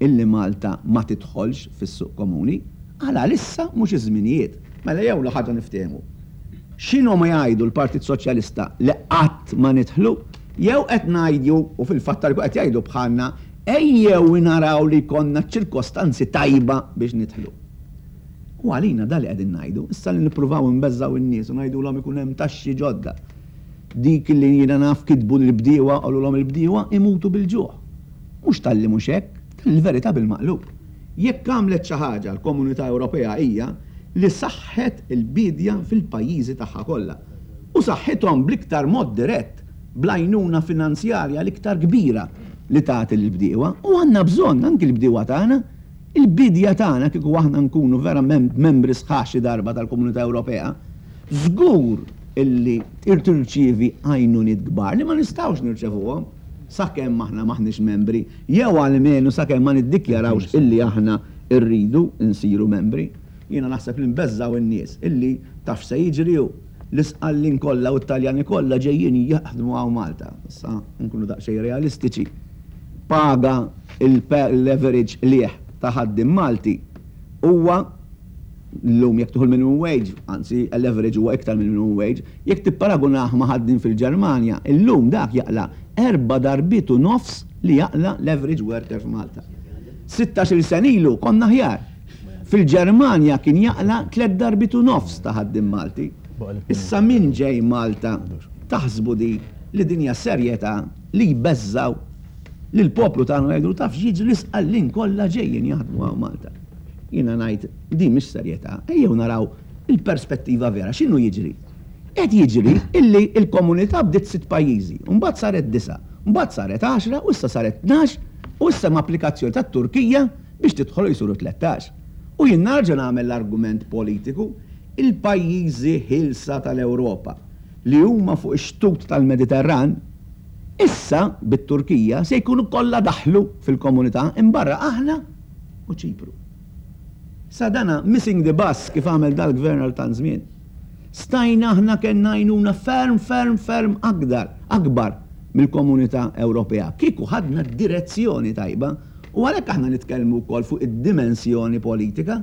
illi Malta ma tidħolx fis-suq komuni. Qal għalissa mhux iż-żminijiet. Mela jew ħaġa niftehmu. X'inhom jgħidu l-Partit Soċjalista li qatt ma nidħlu, jew qed ngħidu, u fil-fatt tal qed jgħidu bħalna, ejjew naraw li jkollna ċ-ċirkostanzi tajba biex nidħlu. U għalina dan li qegħdin ngħidu, issa li nippruvaw inbeżżgħu n-nies u ngħidulhom ikun hemm taxxi ġodda. Dik li jiena naf kitbu lill-bdiewa qalulhom il-bdiewa imutu bil-ġuħ. Mhux talli mhux hekk, talli l-verità bil-maqlub. Jekk għamlet xi ħaġa l-Komunità Ewropea hija li saħħet il-biedja fil-pajjiżi tagħha kollha. U saħħithom bl-iktar mod dirett, bl-għajnuna finanzjarja l-iktar kbira li tagħti lill-bdiewa. U għandna bżonn anki l-bdiewa tagħna, il-biedja tagħna kieku aħna nkunu verament membri sħaħ xi darba tal-Komunità Ewropea, żgur illi tirċievi għajnuniet kbar li ma nistgħux nirċevuhom sakemm aħna m'aħniex membri jew almenu sakemm ma niddikjarawx illi aħna rridu nsiru membri. Jiena naħseb li nbeżżgħu n-nies illi taf x'se jiġri hu l-Isqallin kollha u t-Taljani kollha ġejjin jaħdmu hawn Malta. Issa nkunu daqsxejn realistiċi. Paga l-average qligħ ta' ħaddiem Malti huwa Illum jekk tieħu l-minimum wage, anzi l-average huwa iktar mill-minimum wage, jekk tipparagunah ma' ħaddiem fil-Ġermanja, illum dak jaqla' erba' darbiet u nofs li jaqla' l-average worker f'Malta. Sittax-il sena ilu konna aħjar. Fil-Ġermanja kien jaqla' tlett darbiet u nofs ta' ħaddiem Malti. Issa min ġej Malta taħsbu di li din hija serjetà li jbeżżgħu lill-poplu tagħna u jgħidulu taf x'jiġri l-Isqallin kollha ġejjin jaħdmu hawn Malta. Jiena ngħid din mhix serjetà, ejjew naraw il-perspettiva vera, x'inhu jiġri? Qed jiġri illi l-komunità bdiet sitt pajjiżi, u mbagħad saret disgħa, mbagħad saret għaxra u issa saret tnax u issa hemm applikazzjoni tat-Turkija biex tidħol u jsiru 13. U jien nerġa' nagħmel l-argument politiku, il-pajjiżi ħielsa tal-Ewropa li huma fuq ix-xtut tal-Mediterran, issa bit-Turkija se jkunu kollha daħlu fil-komunità imbarra aħna u Ċipru. Sa dana missing the bus kif għamel dal-gvern għal tant żmien. Stajna aħna kellna għajnuna ferm ferm ferm akdar, akbar mill-Komunità Ewropea kieku ħadna d-direzzjoni tajba u għalhekk aħna nitkellmu wkoll fuq id-dimensjoni politika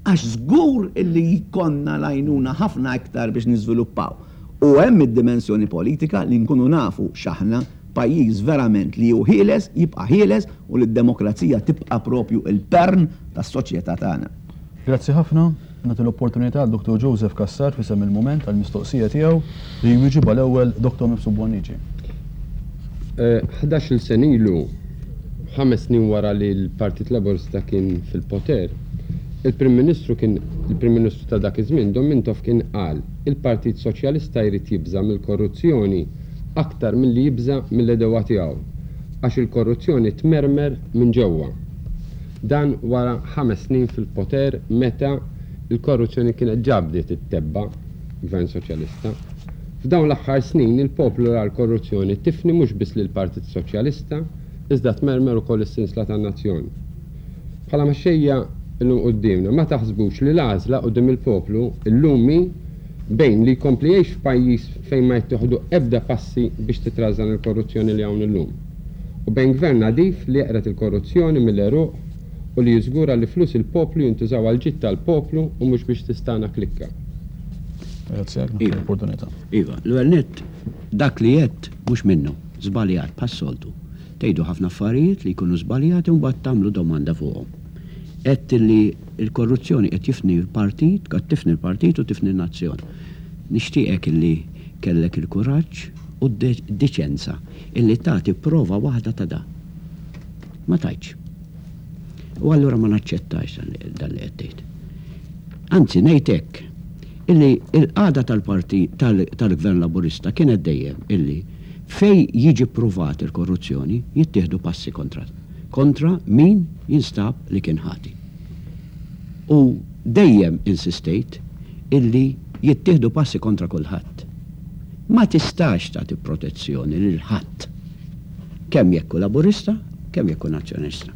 għax żgur illi jkollna l-għajnuna ħafna iktar biex niżviluppaw. U hemm id-dimensjoni politika li nkunu nafu x'aħna Pajjiż verament li hu ħieles jibqa' ħieles u li d-demokrazija tibqa' propju l-pern tas-soċjetà tagħna. Grazzi ħafna. Nagħti l-opportunità għal Dottor Joseph Cassar f'isem il-Mument għall-mistoqsija tiegħu li jwieġibha l-ewwel Dottor Mifsud Bonnici. Ħdax-il sena ilu, ħames snin wara li l-Partit Laburista kien fil-poter, il-Prim Ministru kien, il-Prim Ministru ta' dak iż-żmien, Dom Mintoff kien qal, il-Partit Soċjalista jrid jibża' mill-korruzzjoni aktar milli jibża' mill-għedewwa tiegħu, għax il-korruzzjoni tmermer minn ġewwa. Dan wara ħames snin fil-poter meta l-korruzzjoni kienet ġa bdiet ittebba' Gvern Soċjalista. F'dawn l-aħħar snin il-poplu ra l-korruzzjoni tifni mhux biss lill-Partit Soċjalista iżda tmermer ukoll is-sinsla tan-nazzjon. Bħala mexxejja llum quddiemna, ma taħsbux li l-għażla quddiem il-poplu llum hi bejn li jkompli jgħix f'pajjiż fejn ma jittieħdu ebda passi biex titrażżan il-korruzzjoni li hawn illum, u bejn gvern nadif li jeqred il-korruzzjoni mill-għeruq u li jiżgura li flus il-poplu jintużaw għall-ġid tal-poplu u mhux biex tistagħna klikka. Nirringrazzjak tal-opportunità. Iva, l-ewwel nett dak li għedt mhux minnu, żbaljat bħas-soltu. Tgħidu ħafna affarijiet li jkunu żbaljati u mbagħad tagħmlu domanda fuqhom. Għedt li l-korruzzjoni qed jifni l-partit, qed tifni l-partit u tifni n-nazzjon. Nixtieqek illi kellek il-kuraġġ u d-diċenza illi tagħti prova waħda ta' dan. Ma tajtx. U allura ma naċċettax dan li qed tgħid. Anzi ngħid hekk, illi l-qagħda tal-partit tal-Gvern Laburista kienet dejjem illi fejn jiġi ppruvat il-korruzzjoni jittieħdu passi kontra kontra min jinstab li kien ħati. U dejjem insistejt illi jittieħdu passi kontra kulħadd. Ma tistax tagħti protezzjoni lil ħadd. Kemm jekk hu Laburista, kemm jekk hu Nazzjonalista.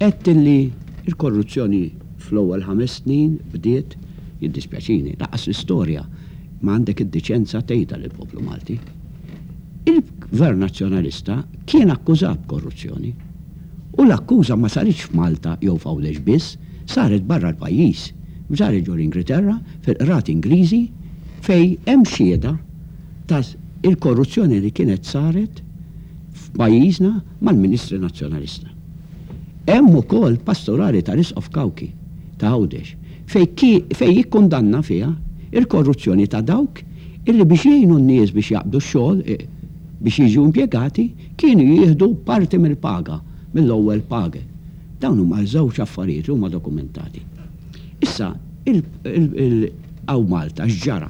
Għedt illi l-korruzzjoni fl-ewwel ħames snin bdiet, jiddispjaċini, lanqas l-istorja ma għandek id-diċenza tgħidha lill-poplu Malti. Il-Gvern Nazzjonalista kien akkużat b'korruzzjoni. U l-akkuża ma saritx f'Malta jew f'Għawdex biss, saret barra l-pajjiż. Saret ġol-Ingilterra, fil-qrati Ingliżi, fejn hemm xhieda ta' il-korruzzjoni li kienet saret f'pajjiżna mal-Ministri Nazzjonalista. Hemm ukoll pastorali tal-Isqof Cauchi ta' Għawdex fejn fejn jikkundanna fiha il-korruzzjoni ta' dawk illi biex jgħinu n-nies biex jaqbdu x-xogħol biex jiġu impjegati kienu jieħdu parti mill-paga, mill-ewwel page. Dawn huma żewġ affarijiet li huma dokumentati. Issa il il hawn Malta x'ġara?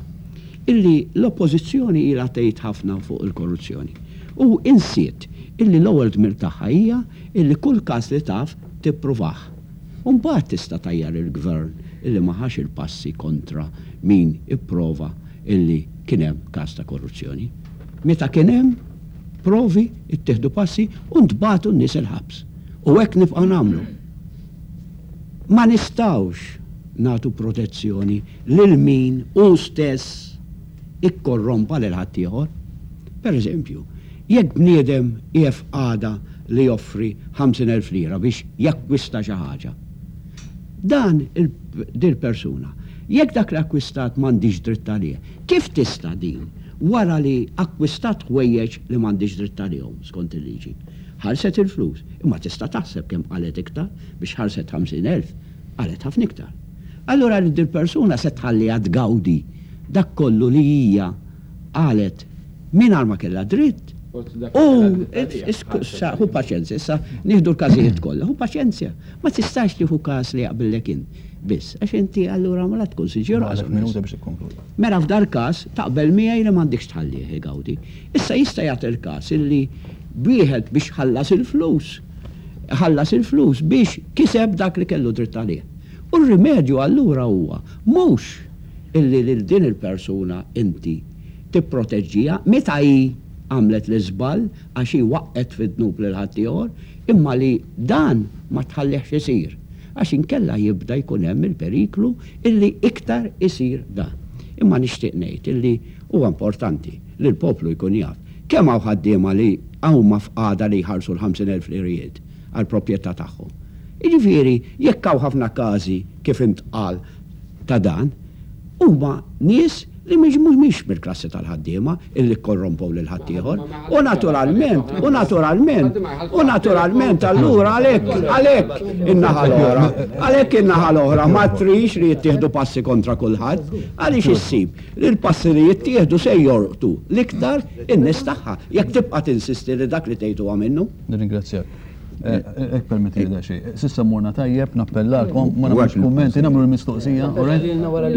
Illi l-Oppożizzjoni ilha tgħid ħafna fuq il-korruzzjoni u insiet illi l-ewwel dmir tagħha hija illi kull każ li taf tippruvah. U mbagħad tista' tgħajjar il-Gvern illi ma ħax il-passi kontra min ipprova illi kien hemm każ ta' korruzzjoni. Meta kien hemm provi ttieħdu passi u ntbagħtu n-nies il-ħabs. U hekk nibqgħu nagħmlu. Ma nistgħux nagħtu protezzjoni lil min hu stess ikkorrompa lil ħaddieħor. Per eżempju, jekk bniedem qiegħed f'qagħda li joffri 50,000 lira biex jakkwista xi ħaġa, dan dil-persuna, jekk dak li akkwistat m'għandhiex dritt għalih, kif tista' din, wara li akkwistat ħwejjeġ li m'għandhiex dritt għalihom skont il-liġi, ħallset il-flus, imma tista' taħseb kemm qalgħet iktar biex ħallset 50,000, qalgħet ħafna iktar. Allura li dil-persuna se tħalliha tgawdi dak kollu li hija qalet mingħajr ma kellha dritt u ħu paċenzja, issa nieħdu l-każijiet kollha, ħu paċenzja, ma tistax tieħu każ li jaqbillek int biss, għax inti allura ma la tkun sinċier lanqas onest. Mela f'dal każ taqbel miegħi li m'għandikx tħallih igawdi. Issa jista' jagħti l-każ illi wieħed biex ħallas il-flus, ħallas il-flus biex kiseb dak li kellu dritt għalih. U r-rimedju allura huwa mhux illi lil din il-persuna inti tipproteġġiha meta hi għamlet l-iżball għax hi waqqgħet fid-dnub lil ħaddieħor, imma li dan ma tħallihx isir għax inkella jibda jkun hemm il-periklu illi iktar isir dan. Imma nixtieq ngħid illi huwa importanti li l-poplu jkun jaf kemm hawn ħaddiema li huma f'qagħda li jħallsu l-50,000 lirijiet għall-proprjetà tagħhom. Jiġifieri, jekk hawn ħafna każi kif intqal ta' dan, huma nies li mhumiex mill-klassi tal-ħaddiema illi kkorrompew lil ħaddieħor. U naturalment, u naturalment, u naturalment allura għalhekk, għalhekk in-naħa l-oħra, għalhekk in-naħa l-oħra ma trix li jittieħdu passi kontra kulħadd, għaliex issib li l-passi li jittieħdu se jolqtu l-iktar in-nies tagħha, jekk tibqa' tinsisti li dak li tgħid huwa minnu. Nirringrazzjak. Jekk permettili daqsxejn. S'issa morna tajjeb, nappellalkom, ma nagħmlux kummenti, nagħmlu l-mistoqsija, all right?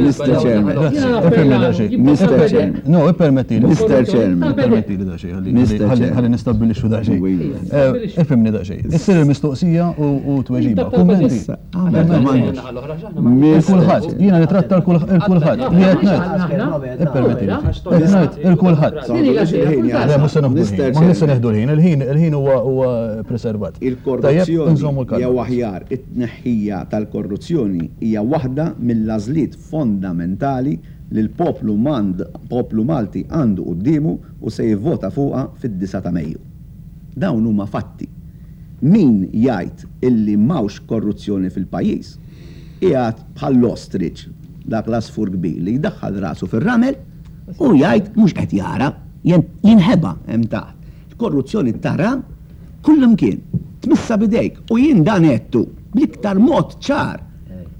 Mr. Chairman. Ippermettili daqsxejn. Mr. Chairman. No, ippermettili. Mr. Chairman. Ippermettili daqsxejn, ħalli nistabbilixxu daqsxejn. Ifhimni daqsxejn. Issir il-mistoqsija u tweġiba. Kummenti. Il-kulħadd, jiena nitratta l-kulħadd. Li qed ngħid. Ippermettili. Qed ngħid il-kulħadd. Le mhux se nieħdu l-ħin. Ma se nieħdu l-ħin, il-ħin il-ħin huwa huwa preservat. Il-korruzzjoni jew aħjar it-tneħħija tal-korruzzjoni hija waħda mill-għażliet fondamentali li l-poplu poplu Malti għandu quddiemu u se jivvota fuqha fid-disgħa ta' Mejju. Dawn huma fatti. Min jgħid illi m'hawnx korruzzjoni fil-pajjiż, qiegħed bħall-ostrich. Dak l-għasfur kbir li jdaħħal rasu fir-ramel u jgħid mhux qed jara, jinħeba hemm taħt. Il-korruzzjoni tara kullimkien, tmissha b'idejk u jien dan għedtu bl-iktar mod ċar.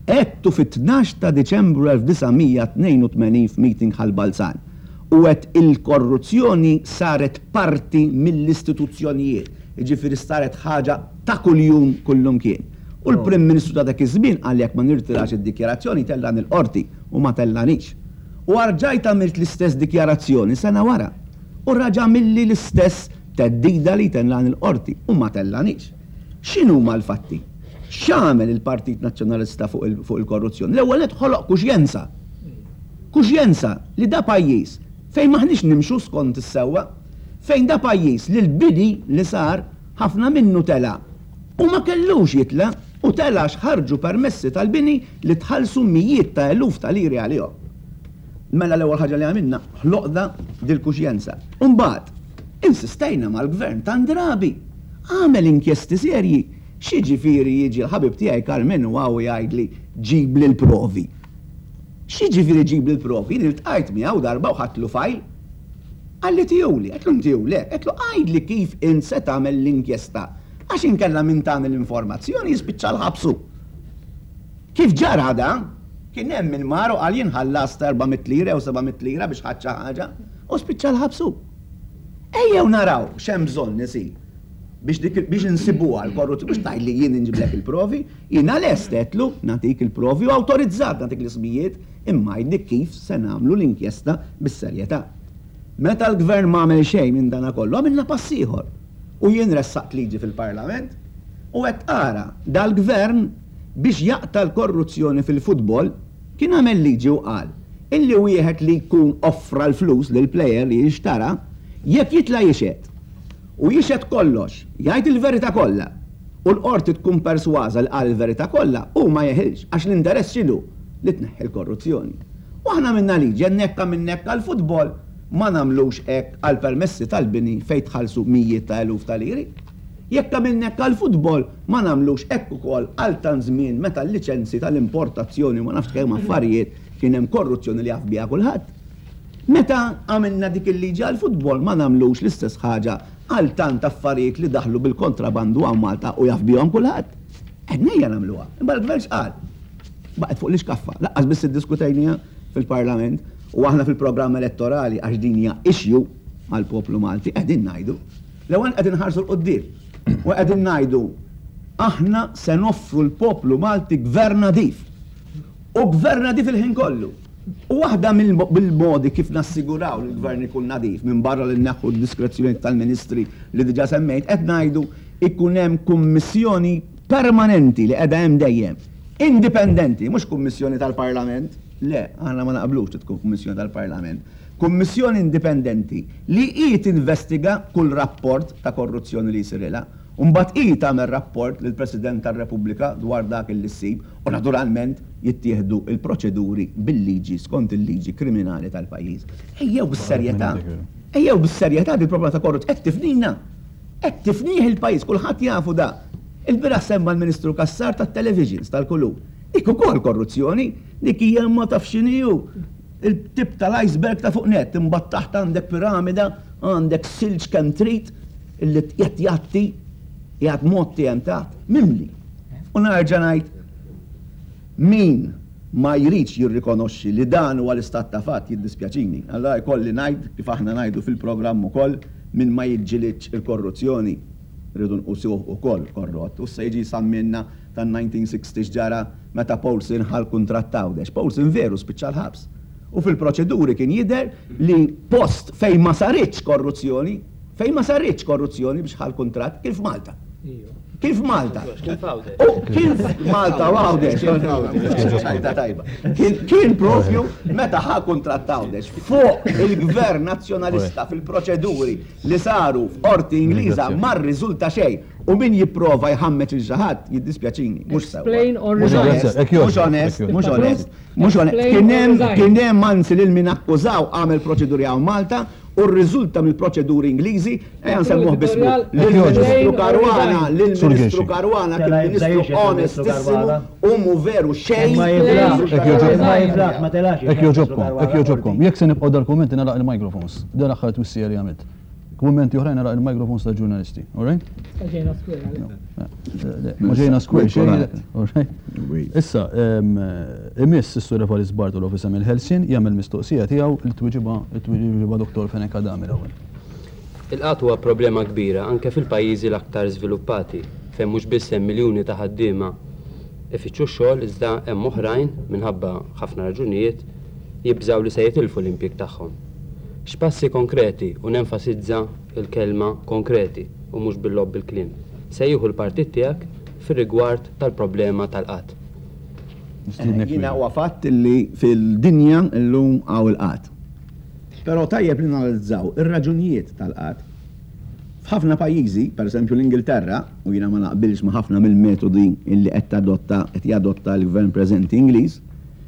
Għedtu fit-tnax ta' Diċembru 1982 f'meeting Ħal Balzan u għedt il-korruzzjoni saret parti mill-istituzzjonijiet, jiġifieri saret ħaġa ta' kuljum kullumkien. U l-Prim Ministru ta' dak iż-żmien qal jekk ma nirtirax id-dikjarazzjoni jtellani l-Qorti u ma tellanix. U arġajt għamilt l-istess dikjarazzjoni sena wara. U raġa' għamilli l-istess theddida li jtellani l-Qorti u ma tellanix. X'inhuma l-fatti? X'għamel il-Partit Nazzjonalista fuq il-korruzzjoni? L-ewwel nett ħoloq kuxjenza. Kuxjenza li da pajjiż fejn m'aħniex nimxu skont is-sewwa. Fejn da pajjiż li l-bini li sar ħafna minnu tela' u ma kellux jitla' u tela' għax ħarġu permessi tal-bini li tħallsu mijiet ta' eluf ta' liri għalihom. Mela l-ewwel ħaġa li għamilna ħloqna dil-kuxjenza. U mbagħad insistejna mal-Gvern tant drabi, għamel inkjesti serji, x'jiġifieri jiġi l-ħabib tiegħi Karmenu hawn u jgħidli ġibli l-provi. X'jiġifieri ġibli l-provi? Jien iltqajt miegħu darba u ħadtlu fajl. Qalli tihuli, għedtlu ntihulek, għedtlu għidli kif int se tagħmel l-inkjesta għax inkella min tani l-informazzjoni jispiċċa l-ħabs hu. Kif ġara dan, kien hemm min mar u qal jien ħallast 400 lira jew 700 lira biex ħadt xi ħaġa u spiċċa l-ħabs hu. Ejjew naraw x'hemm bżonn isir biex dik biex insibuha l-korruzzjoni, mhux tgħidli jien inġiblek il-provi, jiena lest għedtlu nagħtik il-provi u awtorizzat nagħtik l-ismijiet imma għidli kif se nagħmlu l-inkjesta bis-serjetà. Meta l-Gvern m'għamel xejn minn dana kollu, għamilna pass ieħor. U jien ressaqt liġi fil-Parlament u għedt ara, dal-Gvern biex jaqta' l-korruzzjoni fil-futbol kien għamel liġi u qal illi wieħed li jkun offra l-flus lill-plejer li jinxtara, jekk jitla' jixhed u jixhed kollox, jgħid il-verità kollha u l-Qorti tkun persważa li qal il-verità kollha, hu ma jeħilx għax l-interess x'inhu? Li tneħħi l-korruzzjoni. U aħna għamilna liġi, għedna jekk għamilna hekk għall-futbol, ma nagħmlux hekk għall-permessi tal-bini fejn tħallsu mijiet ta' eluf ta' liri. Jekk għamilna hekk għall-futbol, ma nagħmlux hekk ukoll għal tant żmien meta l-liċenzji tal-importazzjoni u ma nafx kemm affarijiet kien hemm korruzzjoni li jaf biha kulħadd. Meta għamilna dik il-liġi għall-futbol ma nagħmlux l-istess ħaġa għal tant affarijiet li daħlu bil-kontrabandu hawn Malta u jaf bihom kulħadd. Għedna ejja nagħmluha. Imma l-Gvern x'qal? Baqgħet fuq l-ixkaffa. Lanqas biss iddiskutejniha fil-Parlament u aħna fil-programm elettorali għax din hija issue għall-poplu Malti qegħdin ngħidu L-ewwel qed inħarsu 'l quddiem u qegħdin ngħidu aħna se noffru l-poplu Malti gvern nadif. U gvern nadif il-ħin kollu. U waħda mill-modi kif nassiguraw li l-gvern ikun nadif, minbarra li nneħħu d-diskrezzjonijiet tal-ministri li diġà semmejt, qed ngħidu ikun hemm kummissjoni permanenti li qiegħda hemm dejjem, indipendenti, mhux kummissjoni tal-Parlament, le, aħna ma naqblux li tkun kummissjoni tal-Parlament, Kummissjoni indipendenti li hi tinvestiga kull rapport ta' korruzzjoni li jsirilha u mbagħad hi tagħmel rapport lill-President tar-Repubblika dwar dak li ssib u naturalment jittieħdu l-proċeduri bil-liġi skont il-liġi kriminali tal-pajjiż. Ejjew bis-serjetà. Ejjew bis-serjetà dil-problema ta' korruzzjoni qed tifnina. Qed tifnih il-pajjiż, kulħadd jafu da. Il-bieraħ semma l-Ministru Cassar tat-televisions tal-kulur. Dik ukoll korruzzjoni, dik hija ma tafx x'inhi hu. Il-tip tal-iceberg ta' fuq nett, imbagħad taħt għandek piramida, għandek silġ kemm trid illi qed jgħatti, qiegħed mgħotti hemm taħt, mimli. U nerġa' ngħid min ma jridx jirrikonoxxi li dan huwa l-istat ta' fatt jiddispjaċini. Allura jkolli ngħid kif aħna ngħidu fil-programm ukoll min ma jiġġilidx il-korruzzjoni rridu nqusuh ukoll korrott. U issa jiġi jsamminna tan-1960 x'ġara meta Paulson ħa l-kuntratt t'Għawdex. Paulson veru spiċċa l-ħabs. U fil-proċeduri kien jidher li post fejn ma saritx korruzzjoni, fejn ma saritx korruzzjoni biex ħa l-kuntratt kien f'Malta. Kien f'Malta. U kien f'Malta u Għawdex. Tajba tajba. Kien propju meta ħa kuntratt Għawdex fuq il-gvern nazzjonalista fil-proċeduri li saru f'qorti Ingliża ma rriżulta xejn. U min jipprova jħammeġ lil xi ħadd, jiddispjaċini, mhux sewwa. Explain or resign. Mhux onest, mhux onest, mhux onest. Kien hemm, kien hemm anzi lil min akkużaw għamel proċeduri hawn Malta u rriżulta mill-proċeduri Ingliżi, ejja nsemmuh b'ismu, lill-Ministru Caruana, lill-Ministru Caruana kien Ministru onestissimu u mhu veru xejn Hekk jogħġobkom, hekk jogħġobkom. Jekk se nibqgħu dal-kummenti nagħlaq il-microphones. Dan l-aħħar twissija li għamilt. Kummenti oħrajn nagħlaq il-microphones tal-ġurnalisti. All right? Ġejna square. Ma ġejna square xejn. All right? Issa, imiss is-Sur Evarist Bartolo f'isem il-Ħelsien jagħmel mistoqsija tiegħu li tweġibha tweġibha Dottor Fenech Adami l-ewwel. Il-qgħad huwa problema kbira anke fil-pajjiżi l-aktar żviluppati, fejn mhux biss hemm miljuni ta' ħaddiema ifittxu x-xogħol iżda hemm oħrajn, minħabba ħafna raġunijiet, jibżgħu li se jitilfu l-impjieg tagħhom. X'passi konkreti, u nenfasizza l-kelma konkreti u mhux bil-logħob bil-kliem, se jieħu l-partit tiegħek fir-rigward tal-problema tal-qgħad? Nistiednek Jiena huwa fatt li fil-dinja llum hawn il-qgħad. Però tajjeb li nanalizzaw ir-raġunijiet tal-qgħad. F'ħafna pajjiżi, pereżempju l-Ingilterra, u jiena ma naqbilx ma' ħafna mill-metodi li qed tadotta qed jadotta l-gvern preżenti Ingliż,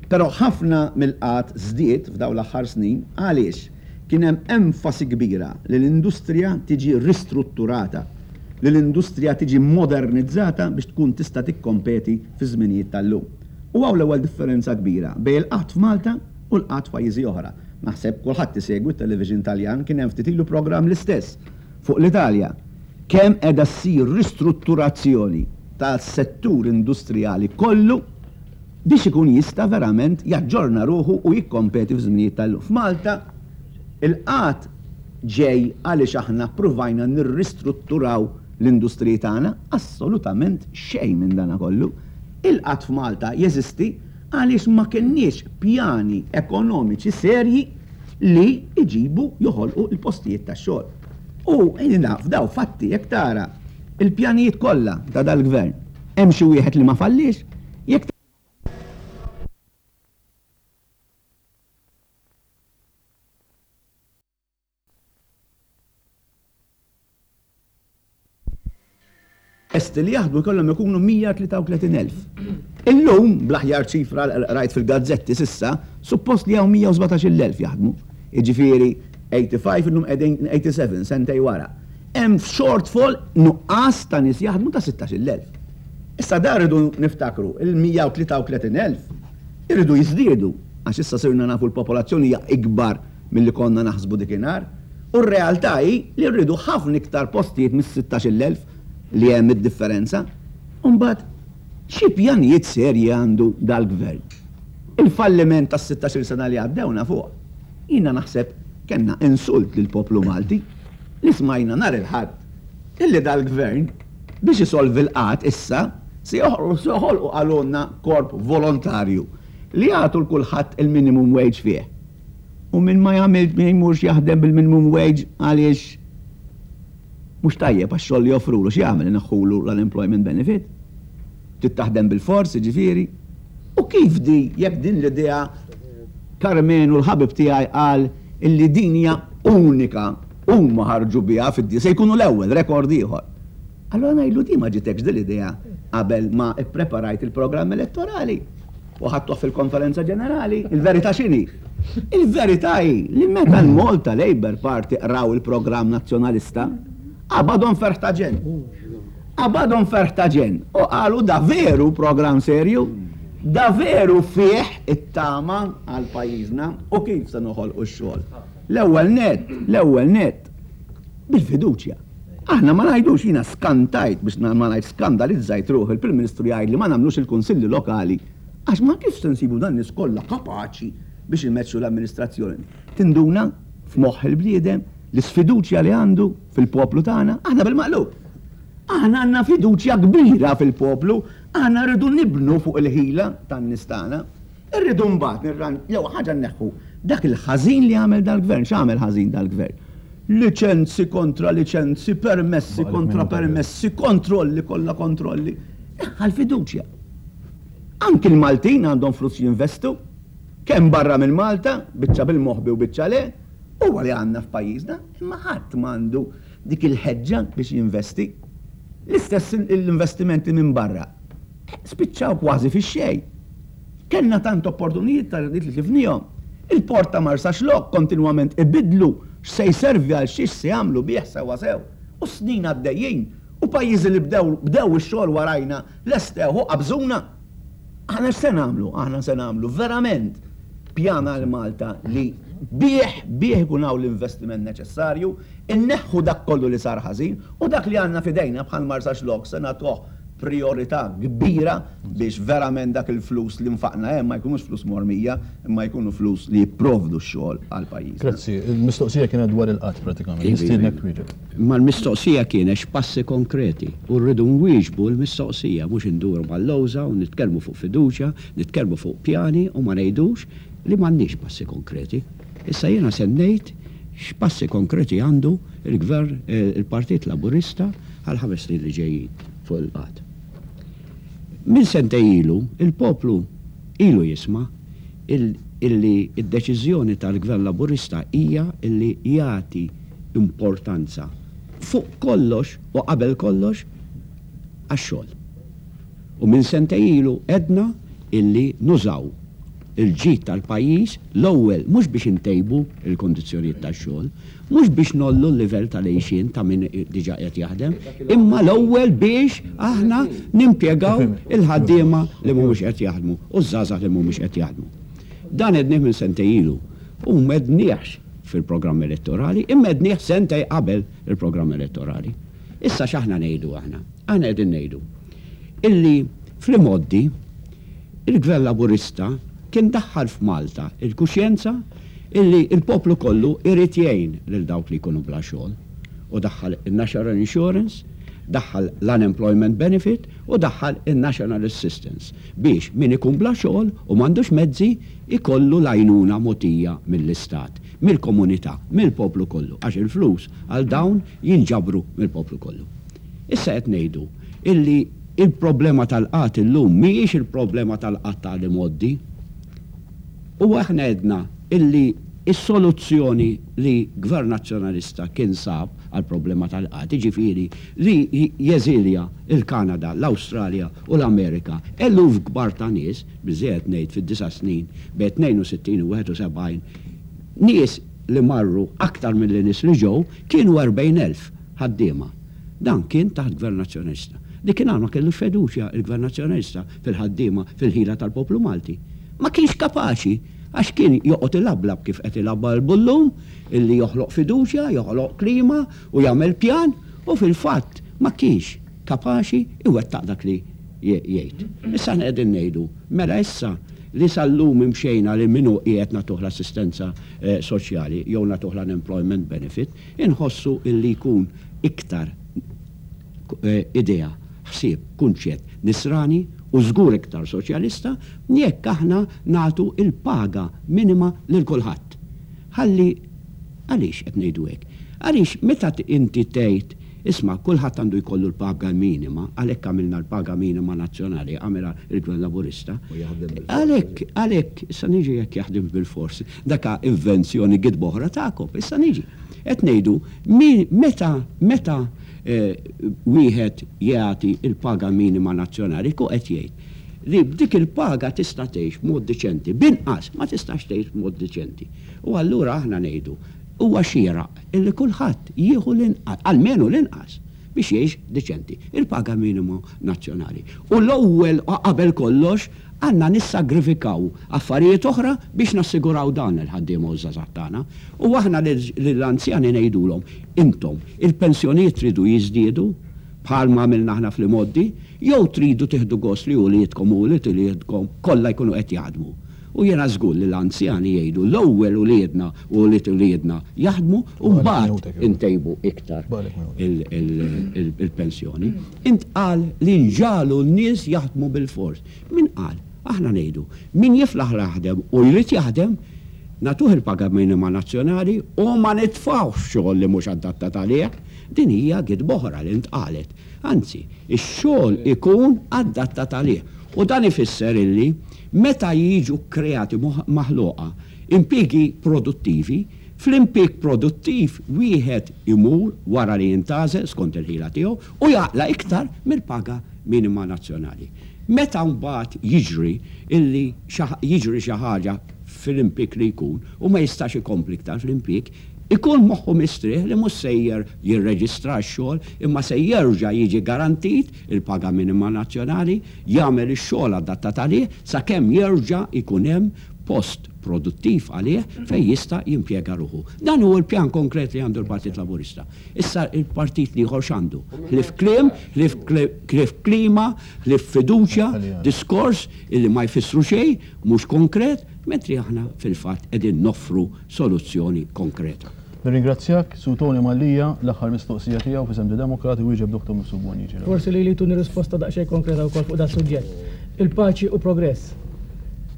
Però ħafna mill-qgħad żdied f'dawn l-aħħar snin għaliex kien hemm enfasi kbira li l-industrija tiġi ristrutturata, li l-industrija tiġi modernizzata biex tkun tista' tikkompeti fiż-żminijiet tal-lum. U hawn l-ewwel differenza kbira bejn il-qgħad f'Malta u l-qgħad f'pajjiżi oħra. Naħseb kulħadd isegwi t-television Taljan, kien hemm ftit ilu programm l-istess fuq l-Italja. Kemm qiegħda ssir ristrutturazzjoni tas-settur industrijali kollu biex ikun jista' verament jaġġorna ruħu u jikkompeti fiż-żminijiet tal-lum. F'Malta, il-qgħad ġej għaliex aħna ppruvajna nirristrutturaw l-industriji tagħna? Assolutament xejn minn dana kollu. Il-qgħad f'Malta jeżisti għaliex ma kenniex pjani ekonomiċi serji li jġibu, joħolqu l-postijiet tax-xogħol. U naf daw fatti jekk tara l-pjanijiet kollha ta' dal-Gvern, hemm xi wieħed li ma falliex? Jekk Lesti li jaħdmu jkollhom ikunu 133,000. Illum, bl-aħjar ċifra li qrajt fil-gazzetti s'issa, suppost li hawn 117,000 jaħdmu. Jiġifieri 85 illum qegħdin 87 sentejn wara. Hemm shortfall, nuqqas ta' nies jaħdmu ta' 16,000. Issa dan rridu niftakru, il-133,000 iridu jiżdiedu għax issa sirna nafu l-popolazzjoni hija ikbar milli konna naħsbu dikinhar u r-realtà hi li rridu ħafna iktar postijiet mis-16,000 li hemm id-differenza. U mbagħad xi pjanijiet serji għandu dal-Gvern? Il-falliment tas-sittax-il sena li għaddew nafuh. Jiena naħseb kellna insult lill-poplu Malti li smajna nhar il-Ħadd illi dal-Gvern biex isolvi l-qgħad issa se joħolqu qalulna korp volontarju li jagħtu 'l kulħadd il-minimum wage fih. U min ma jagħmilx min jmurx jaħdem bil-minimum wage għaliex mhux tajjeb għax-xogħol li joffrulu x'jagħmel ineħħulu l-unemployment benefit? Trid taħdem bilfors jiġifieri? U kif di jekk din l-idea Karmenu l-ħabib tiegħi qal illi din hija unika huma ħarġu biha fid-dinja se jkunu l-ewwel, rekord ieħor. Allura ngħidlu di ma ġitekx din l-idea qabel ma ppreparajt il-programm elettorali u ħadtuh fil-konferenza ġenerali? Il-verità x'inhi? Il-verità hi li meta l-Malta Labour Party qraw il-programm Nazzjonalista, qabadhom ferħ ta' ġenn. Qabadhom ferħ ta' ġenn u qalu da veru programm serju, da veru fih it-tama għal pajjiżna u kif se noħolqu x-xogħol. L-ewwel nett, l-ewwel nett, bil-fiduċja. Aħna ma ngħidux, jiena skantajt biex ma ngħidx skandalizzajt ruħi l-Prim Ministru jgħidli ma nagħmlux il-kunsilli lokali għax ma kif se nsibu dan nies kollha kapaċi biex imexxu l-amministrazzjoni. Tinduna f'moħħ il-bniedem l-isfiduċja li għandu fil-poplu tagħna, aħna bil-maqlub. Aħna għandna fiduċja kbira fil-poplu, aħna rridu nibnu fuq il-ħila tan-nies tagħna. Irridu mbagħad nirran, l-ewwel ħaġa nneħħu dak il-ħażin li għamel dal-gvern. X'għamel ħażin dal-gvern? Liċenzi kontra liċenzi, permessi kontra permessi, kontrolli kollha kontrolli. Neħħa l-fiduċja. Anki l-Maltin għandhom flus jinvestu, kemm barra minn Malta, biċċa bil-moħbi u biċċa le, huwa li għandna f'pajjiżna, imma ħadd m'għandu dik il-ħeġġa biex jinvesti. L-istess l-investimenti minn barra. Spiċċaw kważi fix-xejn. Kellna tant opportunijiet ta' li tlifniehom. Il-port ta' Marsaxlokk kontinwament ibiddlu. X'se jservi għal xiex se jagħmlu bih sewwasew. U s-snin għaddejjin u pajjiżi li bdew bdew ix-xogħol warajna lestewh u qabżuna. Aħna x'se nagħmlu? Aħna se nagħmlu verament pjan għal Malta li bih bih ikun hawn l-investiment neċessarju, inneħħu dak kollu li sar ħażin u dak li għandna f'idejna bħal Marsaxlokk se nagħtuh priorità kbira biex verament dak il-flus li nfaqna hemm ma jkunux flus mormija imma jkunu flus li jipprovdu x-xogħol għal pajjiżna. Grazzi. Il-mistoqsija kienet dwar il-qgħad pratikament. Nistiednek twieġeb. Imma l-mistoqsija kienet x'passi konkreti u rridu nwieġbu l-mistoqsija mhux induru mal-lewża u nitkellmu fuq fiduċja, nitkellmu fuq pjani u ma ngħidux li m'għandniex passi konkreti. Issa jiena se ngħid x'passi konkreti għandu l-Gvern, il-Partit Laburista għall-ħames snin li ġejjin fuq il-qgħad. Minn sentejn ilu, il-poplu ilu jisma' illi d-deċiżjoni tal-Gvern Laburista hija illi jagħti importanza fuq kollox u qabel kollox għax-xogħol. U minn sentejn ilu għedna illi nużaw il-ġid tal-pajjiż l-ewwel mhux biex intejbu l-kundizzjonijiet tax-xogħol, mhux biex ngħollu l-livell tal-għixien ta' min diġà qiegħed jaħdem, imma l-ewwel biex aħna nimpjegaw il-ħaddiema li mhumiex qed jaħdmu u ż-żgħażagħ li mhumiex qed jaħdmu. Dan għednieh minn sentejn ilu u m'għedniehx fil-programm elettorali, imma għednieh sentejn qabel il-programm elettorali. Issa x'aħna ngħidu aħna? Aħna qegħdin ngħidu illi fl-imgħoddi il-Gvern Laburista kien daħħal f'Malta l-kuxjenza illi l-poplu kollu irid jgħin lil dawk li jkunu bla xogħol u daħħal in-National Insurance, daħħal l-Unemployment Benefit u daħħal in-National Assistance biex min ikun bla xogħol u m'għandux mezzi jkollu l-għajnuna mogħtija mill-Istat, mill-komunità, mill-poplu kollu għax il-flus għal dawn jinġabru mill-poplu kollu. Issa qed ngħidu illi il-problema tal-qgħad illum mhijiex il-problema tal-qgħad ta' l-imgħoddi. U aħna għedna illi s-soluzzjoni li Gvern Nazzjonalista kien sab għall-problema tal-qgħad, jiġifieri li jeżilja l-Kanada, l-Awstralja u l-Amerika eluf kbar ta' nies, biżżejjed ngħid fid-disa' snin bejn 62 u 71, nies li marru aktar milli nies li ġew, kienu 40,000 ħaddiema. Dan kien taħt Gvern Nazzjonalista. Dikinhar ma kellux feduċja il-Gvern Nazzjonalista fil-ħaddiema, fil-ħila tal-poplu Malti. Ma kienx kapaċi għax kien joqgħod ilablab kif qed ilabalbu llum, illi joħloq fiduċja, joħloq klima u jagħmel pjan u fil-fatt ma kienx kapaċi iwettaq dak li jgħid. Issa aħna qegħdin ngħidu, mela issa li sal-lum imxejna li min hu qiegħed nagħtuh l-assistenza soċjali jew nagħtuh l-unemployment benefit, Inħossu illi jkun iktar idea, ħsieb, kunċett nisrani u żgur iktar soċjalista jekk aħna nagħtu l-paga minima lil kulħadd. Ħalli, għaliex qed ngħidu hekk? Għaliex meta inti tgħid, isma' kulħadd għandu jkollu l-paga minima, għalhekk għamilna l-paga minima nazzjonali, għamilha l-Gvern Laburista, għalhekk, għalhekk, issa niġi jekk jaħdimx bilfors, Daka invenzjoni gidba oħra tagħkom. Issa niġi. Qed ngħidu min meta meta wieħed jagħti l-paga minima nazzjonali jkun qed jgħid li b'dik il-paga tista' tgħix b'mod diċenti. B'inqas ma tistax tgħix b'mod diċenti. U allura aħna ngħidu huwa xieraq illi kulħadd jieħu l-inqas, almenu l-inqas, biex jgħix diċenti, il-paga minima nazzjonali. U l-ewwel u qabel kollox Għandna nissagrifikaw affarijiet oħra biex nassiguraw dan lill-ħaddiema u ż-żgħażagħ tagħna. U aħna lill-anzjani ngħidulhom, intom, il-pensjonijiet tridu jiżdiedu, bħalma għamilna aħna fl-imgħoddi, jew tridu tieħdu gost li uliedkom u ulied uliedkom kollha jkunu qed jaħdmu? U jiena żgur li l-anzjani jgħidu, l-ewwel uliedna u ulied uliedna jaħdmu u mbagħad intejbu iktar il-pensjoni. Intqal li nġagħlu n-nies jaħdmu bilfors. Min qal? Aħna ngħidu, min jiflaħ jaħdem u jrid jaħdem, nagħtuh il-paga minima nazzjonali u ma nitfgħuhx f'xogħol li mhux adattat għalih. Din hija gidba oħra li ntqalet. Anzi, ix-xogħol ikun adattat għalih. U dan ifisser illi meta jiġu kkreati, maħluqa, impjiegi produttivi, fl-impieg produttiv wieħed imur wara li jintgħażel skont il-ħila tiegħu u jaqla' iktar mill-paga minima nazzjonali. Meta mbagħad jiġri illi jiġri xi ħaġa fl-impieg li jkun u ma jistax ikompli iktar fl-impieg, Ikun moħħu mistrieħ li mhux sejjer jirreġistra għax-xogħol imma se jerġa' jiġi garantit il-paga minima nazzjonali, jagħmel ix-xogħol adattat għalih sakemm jerġa' jkun hemm post produttiv għalih fejn jista' jimpjega ruħu. Dan hu l-pjan konkret li għandu l-Partit Laburista. Issa l-partit l-ieħor x'għandu? Ħlief kliem, ħlief klima, ħlief fiduċja, diskors illi ma jfissru xejn, mhux konkret, mentri aħna fil-fatt qegħdin noffru soluzzjoni konkreta. Nirringrazzjak, Sur Tony Mallia, l-aħħar mistoqsija tiegħu f'isem The Democrat iwieġeb Dottor Mifsud Bonnici l-ewwel. Forsi lili jtuni risposta daqsxejn konkreta wkoll fuq das-suġġett. Il-paċi u progress.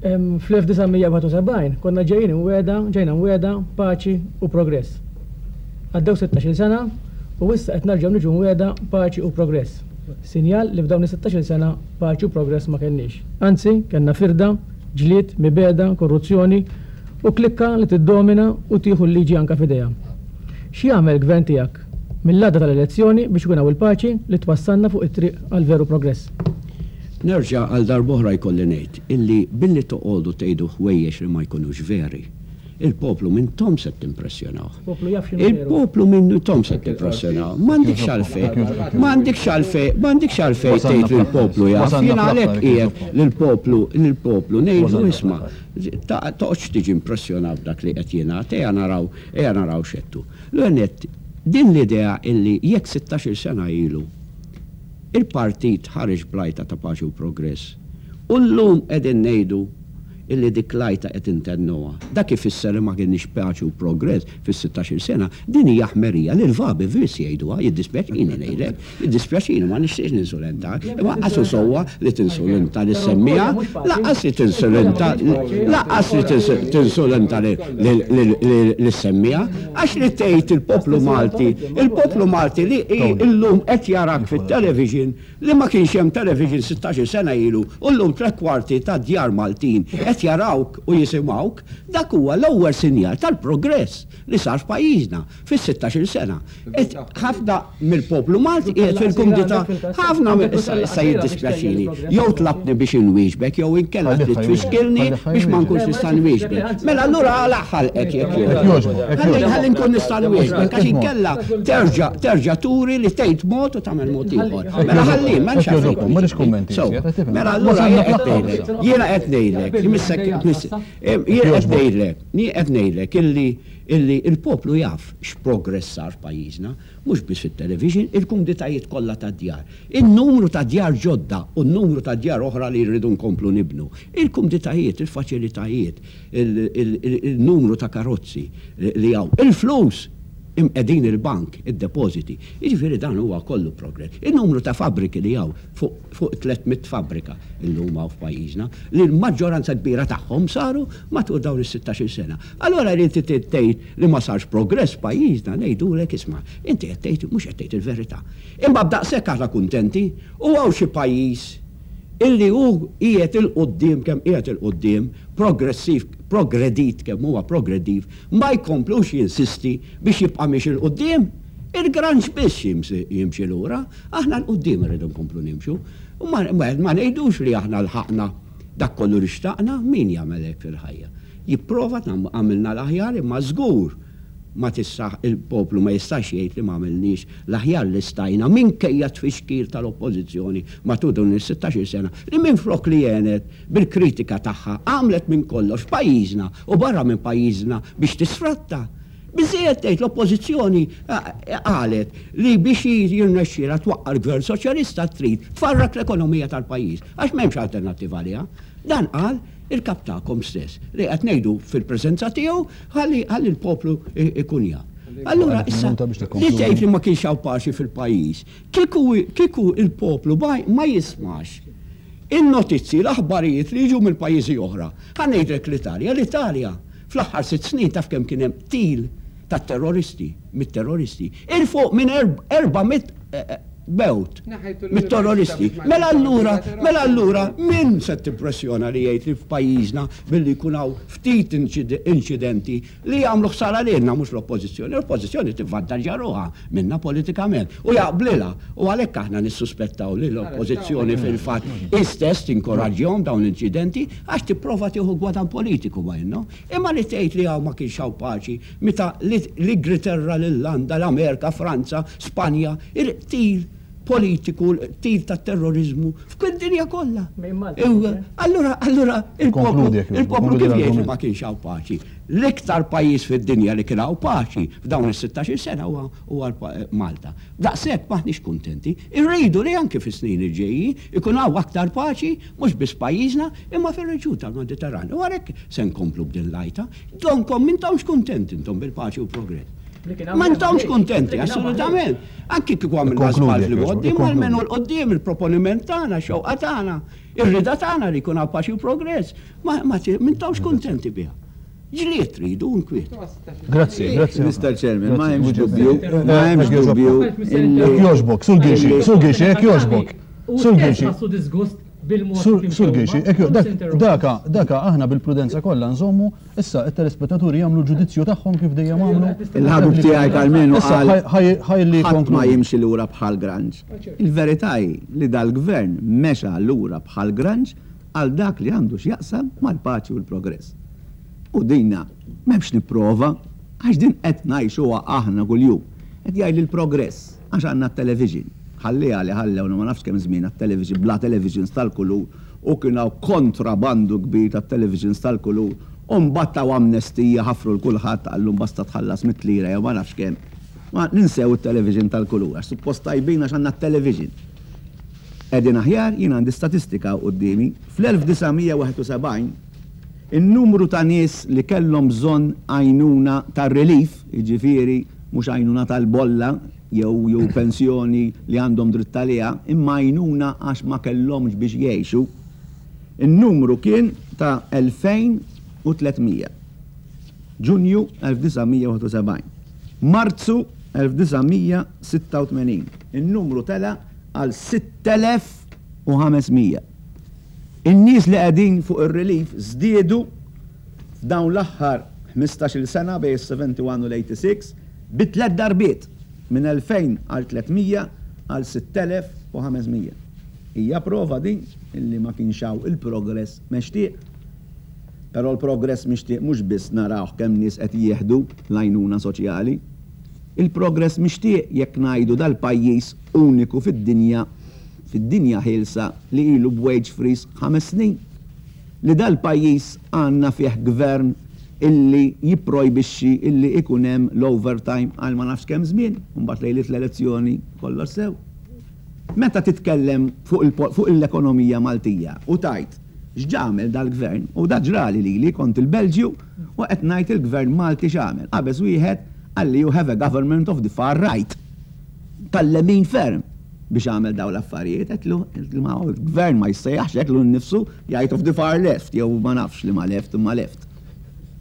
Fl-1971 konna ġejjin imwiegħda, ġejna mwiegħda paċi u progress. Għaddew sittax-il sena u issa qed nerġgħu niġu mwiegħda paċi u progress. Sinjal li f'dawn is-sittax-il sena paċi u progress ma kellniex. Anzi, kellna firda, ġlied, mibegħda, korruzzjoni u klikka li tiddomina u tieħu l-liġi anke f'idejha. X'jagħmel il-Gvern tiegħek mill-għada tal-elezzjoni biex ikun hawn il-paċi li twassalna fuq it-triq għal veru progress? Nerġa' għal darb'oħra jkolli ngħid illi billi toqogħdu tgħidu ħwejjeġ li ma jkunux veri, il-poplu m'intom se timpressjonawh. Il-poplu jaf x'inhu veru. Il-poplu m'intom se timpressjonawh. M'għandikx għalfejn, m'għandikx għalfejn, m'għandikx għalfejn tgħid li l-poplu jaf. Jien għalhekk qiegħed lill-poplu, lill-poplu ngħidlu isma', Toqgħodx tiġi impressjonat b'dak li qed jingħad, ejja naraw, ejja naraw x'għedtu. L-ewwel nett, din l-idea illi jekk sittax-il sena ilu il-partit ħareġ bl-għajta ta' paċi u progress u llum qegħdin ngħidu illi dik l-għajta qed intennuha, dak ifisser li ma kienx paċi u progress fis-sittax-il sena, din hija ħmerija li l-vabi biss jgħiduha, jiddispjaċini ngħidlek. Jiddispjaċini, ma nixtieqx ninsulentak, imma lanqas hu sewwa li tinsulenta lis-semmiegħa, lanqas li tinsulenta, lanqas li tinsulenta lis-semmiegħa, għax li tgħid il-poplu Malti, il-poplu Malti li llum qed jarak fit-television, li ma kienx hemm television sittax-il sena ilu u llum tlett kwarti tad-djar Maltin qed jarawk u jisimgħuk, dak huwa l-ewwel sinjal tal-progress li sar f'pajjiżna. Fis-sittax-il sena. Ħafna mill-poplu Malti qiegħed fil-kumdità, ħafna mill issa issa jiddispjaċini, jew tlabtni biex inwieġbek jew inkella trid tfixkilni biex ma nkunx nista' nwieġbek. Mela allura għalaq ħalqek jekk jogħġbok. Ħalli ħalli nkun nista' nwieġbek għax inkella terġa' terġa' turi li tgħid mod u tagħmel mod ieħor. Mela ħalli, m'hemmx għalfejn twieġibni. Sewwa. Mela allura jien qed ngħidlek, jiena qed ngħidlek, imissek jien qed ngħidlek, jien qed ngħidlek illi Illi l-poplu jaf x'progress sar f'pajjiżna, mhux biss fit-television, il-kumditajiet kollha tad-djar, in-numru ta' djar ġodda u n-numru ta' djar oħra li rridu nkomplu nibnu, il-kumditajiet, il-faċilitajiet, il-numru ta' karozzi li hawn, il-flus imqegħdin il-bank, id-depożiti. Jiġifieri dan huwa kollu progress. In-numru ta' fabbriki li hawn fuq fuq 300 fabbrika llum hawn f'pajjiżna, li l-maġġoranza kbira tagħhom saru matul dawn is-sittax-il sena. Allura li inti trid tgħid li ma sarx progress f'pajjiżna, ngħidulek isma' inti qed tgħid mhux qed tgħid il-verità. Imma b'daqshekk aħna kuntenti u hawn xi pajjiż illi hu qiegħed 'il quddiem kemm qiegħed 'il quddiem, progressiv, progredit kemm huwa progrediv, ma jkomplux jinsisti biex jibqa' miexi 'l quddiem? Il-granċ biss jimxi lura. Aħna 'l quddiem irridu nkomplu nimxu. U ma ngħidux li aħna lħaqna dak kollu li xtaqna, min jagħmel hekk fil-ħajja? Jipprova għamilna l-aħjar imma żgur ma tista' il-poplu ma jistax jgħid li ma għamilniex l-aħjar li stajna minkejja t-tfixkil tal-Oppożizzjoni matul dawn is-sittax-il sena li minflok li għenet bil-kritika tagħha għamlet minn kollox f'pajjiżna u barra minn pajjiżna biex tisfratta Biżżejjed tgħid l-Oppożizzjoni qalet li biex hi jirnexxielha twaqqa' l-Gvern Soċjalista trid tfarrak l-ekonomija tal-pajjiż għax m'hemmx alternattiva għaliha. Dan qal il-Kap tagħkom stess li qed ngħidu fil-preżenza tiegħu ħalli ħalli l-poplu jkun jaf. Allura issa li tgħid li ma kienx hawn paċi fil-pajjiż, kieku kieku l-poplu ma jismax in-notizzi, l-aħbarijiet li jiġu mill-pajjiżi oħra. Ħa ngħidlek l-Italja, l-Italja Fl-aħħar sitt snin taf kemm kien hemm qtil ta' terroristi, mit-terroristi? Il fuq minn 400. mewt mit-terroristi. Mela allura, mela allura min se tippressjona li jgħid li f'pajjiżna billi jkun hawn ftit inċidenti li jagħmlu ħsara lilna mhux l-Oppożizzjoni. L-Oppożizzjoni tivvantaġġja ruħha minna politikament u jaqblilha u għalhekk aħna nissuspettaw li l-Oppożizzjoni fil-fatt hi stess tinkoraġġihom dawn l-inċidenti għax tipprova tieħu gwadann politiku ma minnhom. Imma li tgħid li hawn ma kienx hawn paċi meta l-Ingriterra, l-Irlanda, l-Amerika, Franza, Spanja, il-qtil politiku, l-qtil tat-terroriżmu f'kull dinja kollha. Allura, allura il-poplu, il-poplu kif jgħid li ma kienx hawn paċi? L-iktar pajjiż fid-dinja li kien hawn paċi f'dawn is-16-il sena huwa Malta. Daqshekk m'aħniex kuntenti. Irridu li anki fis-snin li ġejjin ikun hawn aktar paċi mhux biss pajjiżna imma fir-reġjun tal-Mediterran. U għalhekk se nkomplu b'din l-għajta. Donkom m'intomx kuntenti intom bil-paċi u progress. M'intomx kuntenti, assolutament. Anki kieku għamilna żball fl-imgħoddi, imma almenu 'l quddiem il-proponiment tagħna, x-xewqa tagħna, ir-rieda tagħna li jkun hawn paċi u progress, ma m'intomx kuntenti biha. Ġlied tridu u nkwiet. Grazzi, grazzi. Mister Chairman, ma hemmx dubju, ma hemmx dubju. Jekk jogħġbok, Sur Ghixi, Sur Ghixi, jekk jogħġbok. Sur Ghixi. Sur Ghixi, daka, daka aħna bil-prudenza kollha nżommu, issa it-telespettaturi jagħmlu l-ġudizzju tagħhom kif dejjem għamlu. Il-ħabib tiegħi Karmenu qal ħadd ma jimxi lura bħal granġ. Il-verità hi li dal-gvern mexa lura bħal granġ għal dak li għandu x'jaqsam mal-paċi u l-progress. U dina m'hemmx nipprova għax din qed ngħixuha aħna kuljum. Qed jgħidli l-progress għax għandna t-television. Ħalliha li ħallewna ma nafx kemm żmien għat-television bla televisions tal-kulur u kien hawn kontrabandu kbir tat-televisions tal-kulur u mbagħad taw amnestija ħafru 'l kulħadd qallu basta tħallas mitt lira jew ma nafx kemm. Ma ninsew it-television tal-kulur għax suppost tajbin għax għandna t-television. Qegħdin aħjar, jien għandi statistika hawn quddiemi, fl-1971 in-numru ta' nies li kellhom bżonn għajnuna tar-relief, jiġifieri mhux għajnuna tal-bolla jew jew pensjoni li għandhom dritt għaliha, imma għajnuna għax ma kellhomx biex jgħixu, in-numru kien ta' 2,300. Ġunju 1971. Marzu 1986, in-numru tela' għal 6,500. In-nies li qegħdin fuq ir-relief żdiedu f'dawn l-aħħar ħmistax-il sena bejn is-71 u l-86 bi tlett darbiet, minn 2,000 għal 300 għal 6,500. Hija prova din illi ma kienx hawn il-progress mextieq. Però l-progress mixtieq mhux biss narawh kemm nies qed jieħdu l-għajnuna soċjali. Il-progress mixtieq jekk ngħidu dal-pajjiż uniku fid-dinja, fid-dinja ħielsa li ilu b'wage freeze ħames snin. Li dal-pajjiż għandna fih gvern illi jipprojbixxi illi ikun hemm l-overtime għal ma nafx kemm żmien, u mbagħad lejliet l-elezzjoni kollox sew. Meta titkellem fuq fuq l-ekonomija Maltija u tgħid x'ġagħmel dal-gvern, u da ġrali lili, kont il-Belġju u qed ngħid il-gvern Malti x'għamel, qabeż wieħed qalli you have a government of the far right, tal-lemin ferm. Biex għamel dawn l-affarijiet, għedtlu, ma l-gvern ma jissejjaħx hekk lu nnifsu jgħid of the far left jew ma nafx liema left imma left.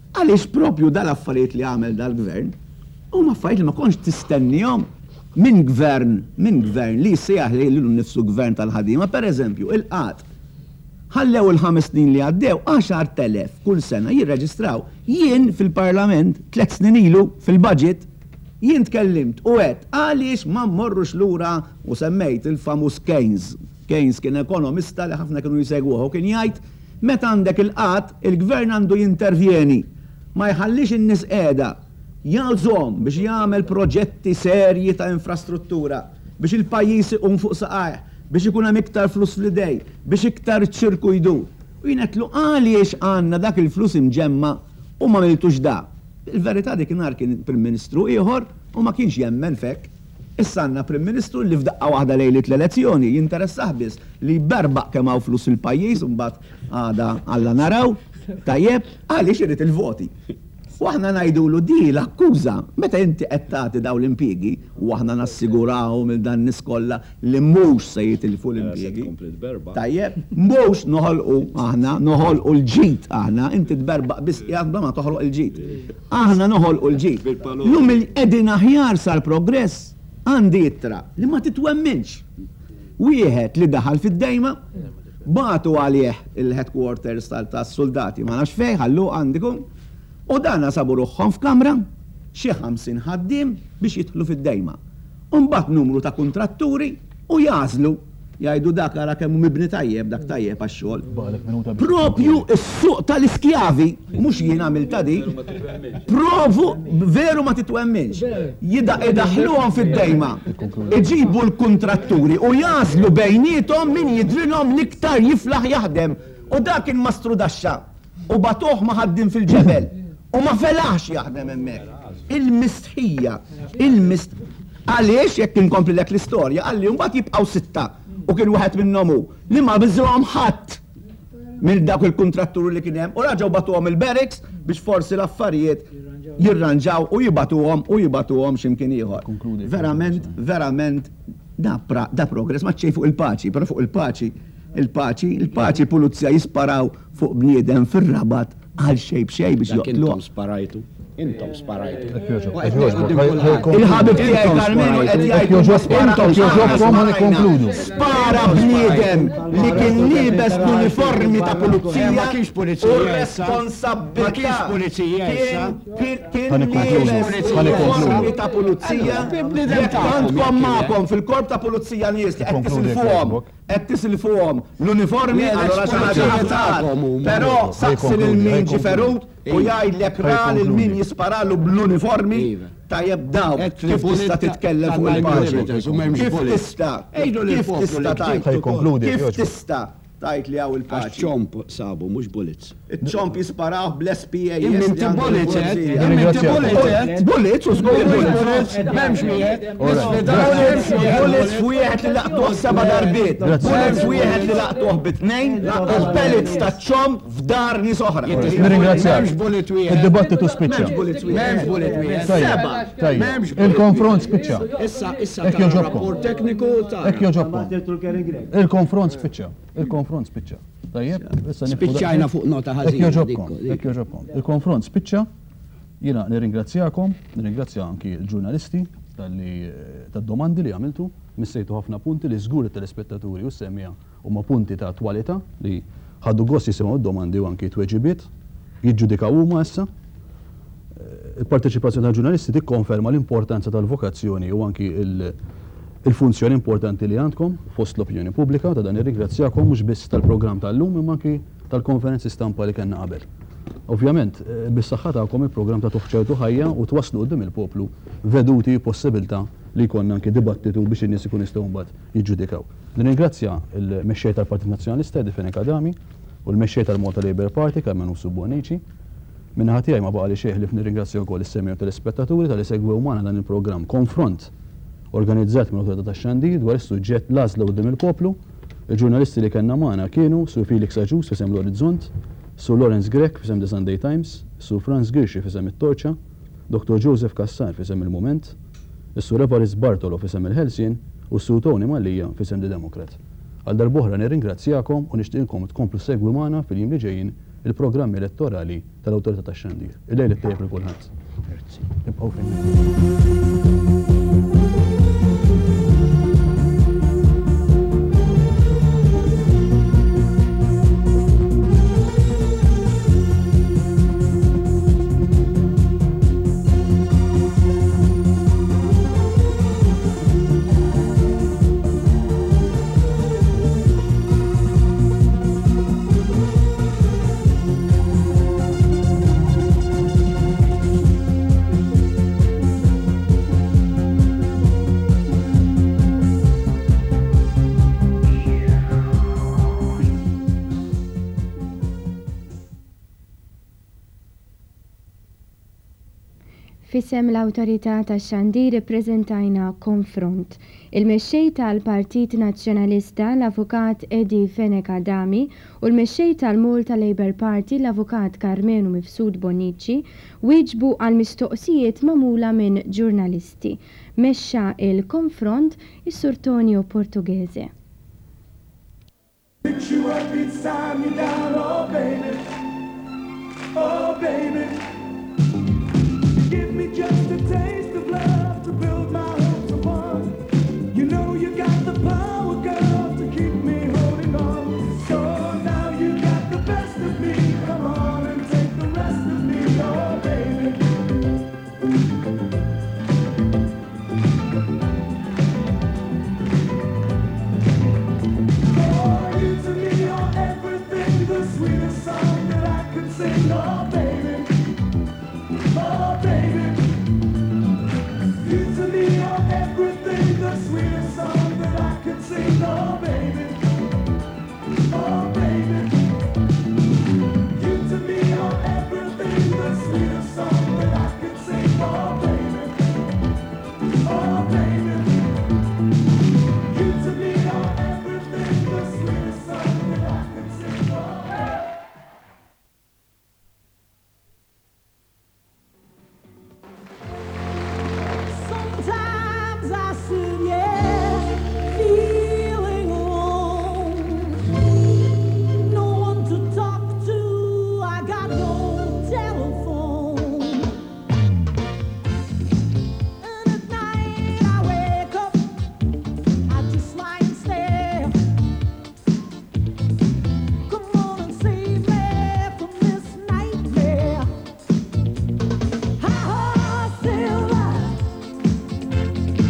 Għaliex propju dal-affarijiet li għamel dal-gvern huma affarijiet li ma kontx tistennihom minn gvern, minn gvern li jissejjaħ lilu nnifsu gvern tal-ħaddiema. Per eżempju, il-qgħad. Ħallew il-ħames snin li għaddew 10,000 kull sena jirreġistraw. Jien fil-Parlament tlett snin ilu fil-budget Jien tkellimt u għedt għaliex ma mmorrux lura u semmejt il-famuż Keynes. Keynes kien ekonomista li ħafna kienu jsegwuh u kien jgħid meta għandek il-qgħad, il-gvern għandu jintervjeni. Ma jħallix in-nies qiegħda. Jgħożhom biex jagħmel proġetti serji ta' infrastruttura, biex il-pajjiż iqum fuq saqajh, biex ikun hemm iktar flus fl-idej, biex iktar iċ-ċirku jdur. U jien għedtlu għaliex għandna dak il-flus imġemma' u m'għamiltux da. Il-verità dik inhar kien Prim Ministru ieħor u ma kienx jemmen f'hekk. Issa għandna Prim Ministru li f'daqqa waħda lejliet l-elezzjoni jinteressah biss li jberbaq kemm hawn flus fil-pajjiż u mbagħad għada Alla naraw, tajjeb, għaliex irid il-voti. U aħna ngħidulu di l-akkuża meta inti qed tagħti dawn l-impjiegi u aħna nassigurawhom lil dan nies kollha li mhux se jitilfu l-impjiegi. Tajjeb, mhux noħolqu aħna, noħolqu l-ġid aħna, inti tberbaq biss qiegħed bla ma toħloq il-ġid. Aħna noħolqu l-ġid. Llum qegħdin aħjar sar progress. Għandi ittra li ma titwemminx. Wieħed li daħal fid-dejma, bagħtu għalih il-headquarters tas-suldati ma nafx fejn, ħalluh għandikum, u dana sabu ruħhom f'kamra, xi 50 ħaddiem biex jidħlu fid-dejma. U mbagħad numru ta' kuntratturi u jagħżlu. Jgħidu dak ara kemm hu mibni tajjeb, dak tajjeb għax-xogħol. Propju s-suq tal-iskjavi, mhux jien għamiltha dik, provu, veru ma titwemminx, idaħħluhom fid-dejma, iġibu l-kuntratturi u jagħżlu bejniethom min jidhrilhom l-iktar jiflaħ jaħdem. U dak kien mastrudaxxa. U bagħtuh ma' ħaddiem fil-ġebel u ma felaħx jaħdem hemmhekk. Il-mistħija, il-mist. Għaliex, jekk inkomplilek l-istorja, qalli mbagħad jibqgħu sitta u kien wieħed minnhom hu li ma biżrahom ħadd minn dawk il-kuntratturi li kien hemm u raġgħu bagħtuhom il-barracks biex forsi l-affarijiet jirranġaw u jibagħtuhom u jibagħtuhom xi mkien ieħor. Verament, verament da, da progress ma xejn fuq il-paċi, però fuq il-paċi, il-paċi, il-paċi pulizija jisparaw fuq bniedem fir-Rabat għal xejn b'xejn biex Dak joqtluh. intom sparajtu. Intom sparajtu. Il-ħabib tiegħi Karmenu qed jgħid huma spara Jekk jogħġobkom ħa nikkonkludu. Spara bniedem li kien liebes l-uniformi ta' pulizija Ma kienx pulizija u issa. r-responsabbiltà Ma kienx pulizija issa. kien kien Ħa nikkonkludu. liebes Ħa nikkonkludu. l-uniformi ta' pulizija. Bniedem Jekk tagħkom għandkom jekk kien magħkom fil-korp ta' pulizija nies li qed Ikkonkludi jekk tisilfuhom jogħġbok. Qed tisilfuhom l-uniformi allura xi ħaġa ħadd Però saqsi lil min ġie ferut u jgħidlek ra lil min jisparalu bl-uniformi tajjeb dawk kif tista' titkellem fuq il-paċi. Kif tista' kif tista' tgħid kif tista' tgħid li hawn il-paċi. Għax ċomp sabu mhux bullets. Iċ-ċomp jisparawh bl-SPAS. Imma inti bullets għedt. Imma inti bullets għedt. Bullets u żgur bullets. M'hemmx wieħed. Bullets bullets f'wieħed li laqtuh seba' darbiet. Bullets wieħed li laqtuh bi tnejn u pellets taċ-ċomp f'dar nies oħra. Nirringrazzjak. Id-dibattitu spiċċa. M'hemmx bullet wieħed. M'hemmx bullet wieħed. Tajjeb, tajjeb. Il-konfront spiċċa. Issa issa Hekk tara jogħġobkom. rapport tekniku tara. Hekk jogħġobkom. Il-konfront spiċċa. Il-konfront spiċċa. Tajjeb, issa nieqfu Spiċċajna daqshekk. fuq nota Hekk ħażina jogħġobkom, dik- dik. hekk jogħġobkom. Il-konfront spiċċa. Jiena nirringrazzjakom, nirringrazzja anki l-ġurnalisti talli tad-domandi li għamiltu. Missejtu ħafna punti li żgur it-telespettaturi u s-semmiegħa huma punti ta' attwalità li ħadu gost jisimgħu d-domandi u anki t-tweġibiet. Jiġġudikaw huma issa. Il-parteċipazzjoni tal-ġurnalisti tikkonferma l-importanza tal-vokazzjoni u anki il-funzjoni importanti li għandkom fost l-opinjoni pubblika. Ta' dan nirringrazzjakom mhux biss tal-programm tal-lum imma anki tal-konferenzi stampa li kellna qabel. Ovvjament, bis-saħħa tagħkom il-programm tagħtuh ċertu ħajja u twasslu quddiem il-poplu veduti u possibilità li jkollna anki dibattitu biex in-nies ikunu jistgħu mbagħad jiġġudikaw. Nirringrazzja l-Mexxej tal-Partit Nazzjonalista Eddie Fenech Adami u l-Mexxej tal-Malta Labour Party Carmen Usu Bonnici. Min-naħa tiegħi ma baqali xejn ħlief nirringrazzja wkoll is-semmiegħa u telespettaturi talli segwew magħna dan il-programm Konfront organizzat mill-Awtorità tax-Xandir dwar is-suġġett L-Għażla Quddiem il-Poplu. Il-ġurnalisti li kellna magħna kienu Sur Felix Agius f'isem l-Orizzont, Sur Lawrence Grech f'isem The Sunday Times, Sur Frans Ghirxi f'isem It-Torċa, Dottor Joseph Cassar f'isem Il-Mument, is-Sur Evarist Bartolo f'isem Il-Ħelsien u s-Sur Tony Mallia f'isem The Democrat. Għal darb'oħra nirringrazzjakom u nixtieqilkom tkomplu ssegwi magħna fil-jiem li ġejjin il-programmi elettorali tal-Awtorità tax-Xandir. Il-lejl it-tajjeb lil kulħadd. Ibqgħu fin. F'isem l-Awtorità tax-Xandir ippreżentajna Konfront. Il-Mexxej tal-Partit Nazzjonalista, l-Avukat Eddie Fenech Adami u l-Mexxej tal-Malta Labour Party, l-Avukat Karmenu Mifsud Bonnici, wieġbu għal mistoqsijiet magħmula minn ġurnalisti. Mexxa l-konfront is-Sur Tonio Portughese. Pick you up each time you're down, oh baby, oh baby. You give me just a taste of love to build my hopes upon.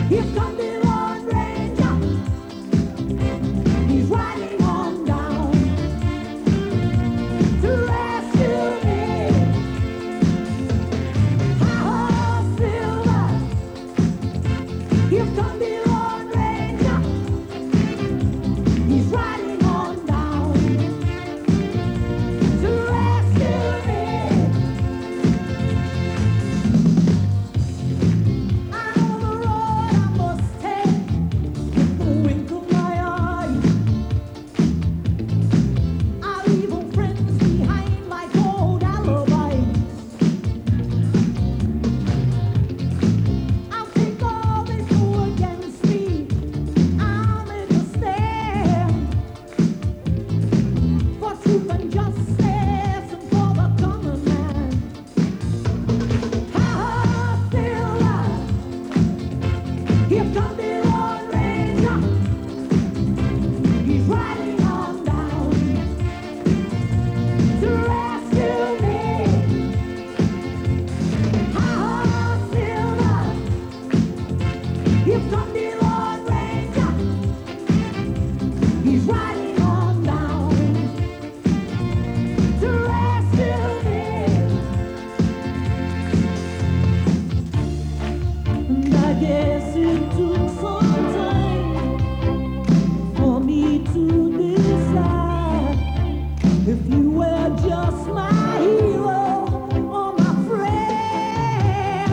Here comes the Lone Ranger. He's riding on down to rescue me. Hi-ho, Silver. Here comes the Lone Ranger. He's riding on down to rescue me. I know the road I must take with the wink of my eye. I leave old friends behind like old alibis. I'll take all they throw against me. I'll make a stand for truth and justice and for the common man. Hi-ho, Silver. Here comes the Lone Ranger. He's riding on down to rescue me. Hi-ho, Silver. Here comes the Lone Ranger. He's riding on down to rescue me. And I guess it took some time for me to decide if you were just my hero or my friend.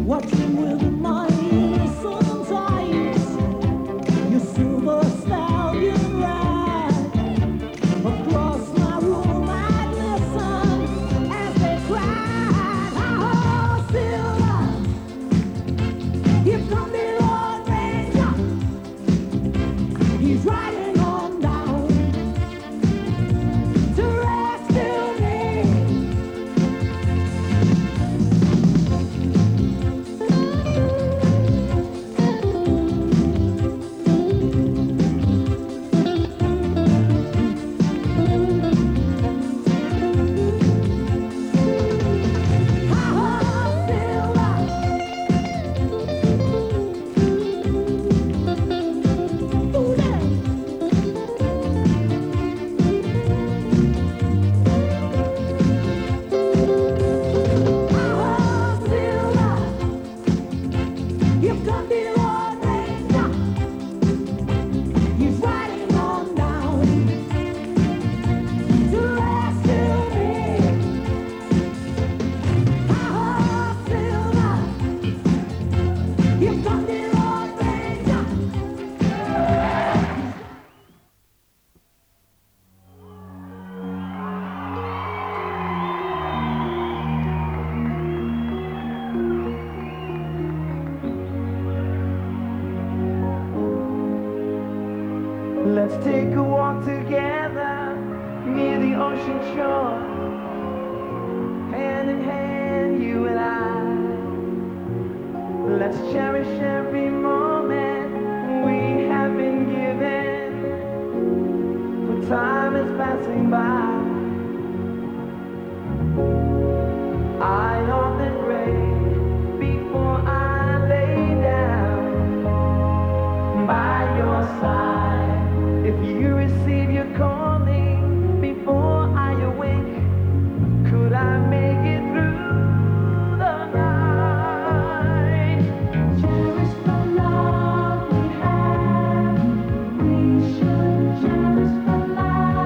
Watching with my sometimes your silver stallion ride across my room. I'd listen as they cried, "Hi-ho, Silver! Here comes the Lone Ranger. He's riding on down to rescue me." Hi-ho, Silver. Ooh, yeah. Hi-ho, Silver. Here comes the Lone Ranger. He's riding on down to rescue me. Hi-ho, Silver. Here comes the Lone Ranger. Let's take a walk together near the ocean shore. Hand in hand, you and I. Let's cherish every moment we have been given. For time is passing by. I often pray before I lay down by your side. If you receive your calling before I awake, could I make it through the night? Cherish the love we have. We should cherish the love.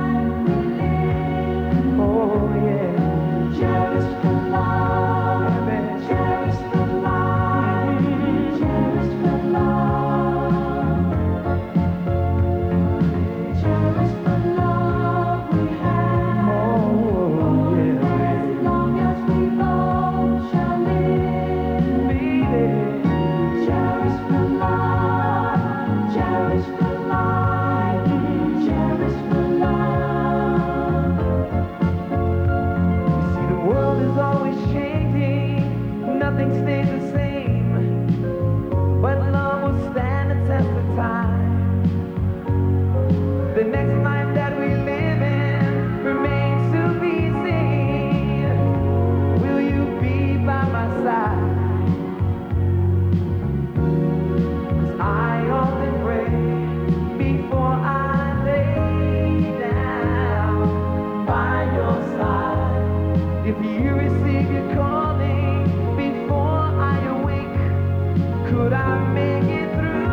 Could I make it through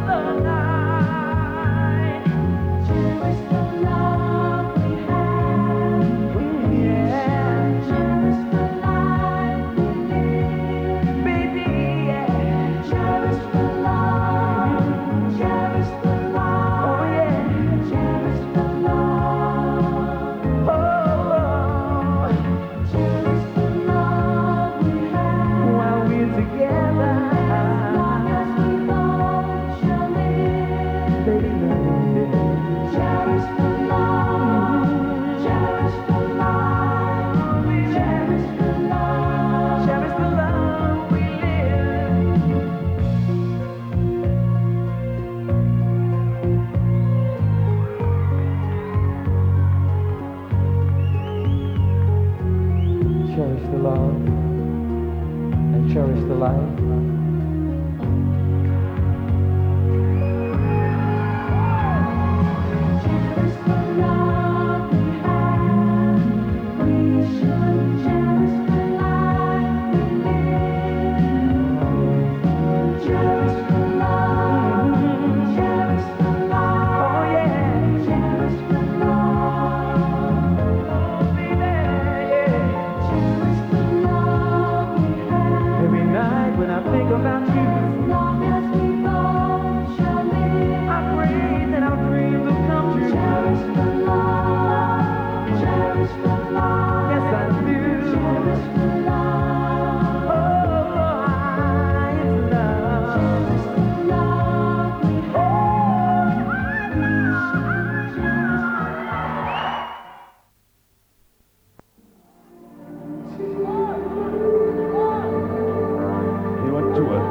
the night? Cherish the love we have. Yeah. Cherish the life we live. Baby, yeah. Cherish the love. Cherish the love. Oh, yeah. Cherish the love. Oh, oh. Cherish the love we have. While we're together. As long as we both shall live. Baby, love, yeah. Cherish the love. Cherish the life. Cherish the love. Cherish the love we live. Cherish the love and cherish the life. Cherish the love we have. We should cherish the life we live. Cherish the love. Cherish the life. Oh, yeah. Cherish the love. Oh, baby, yeah. Cherish the love we have. Every night when I think about you, As long as we both shall live. I pray that our dreams will come true. Cherish the love. Cherish the love. Yes, I do. Cherish the love. Oh, it's love. Cherish the love we have. We should cherish the He went to it.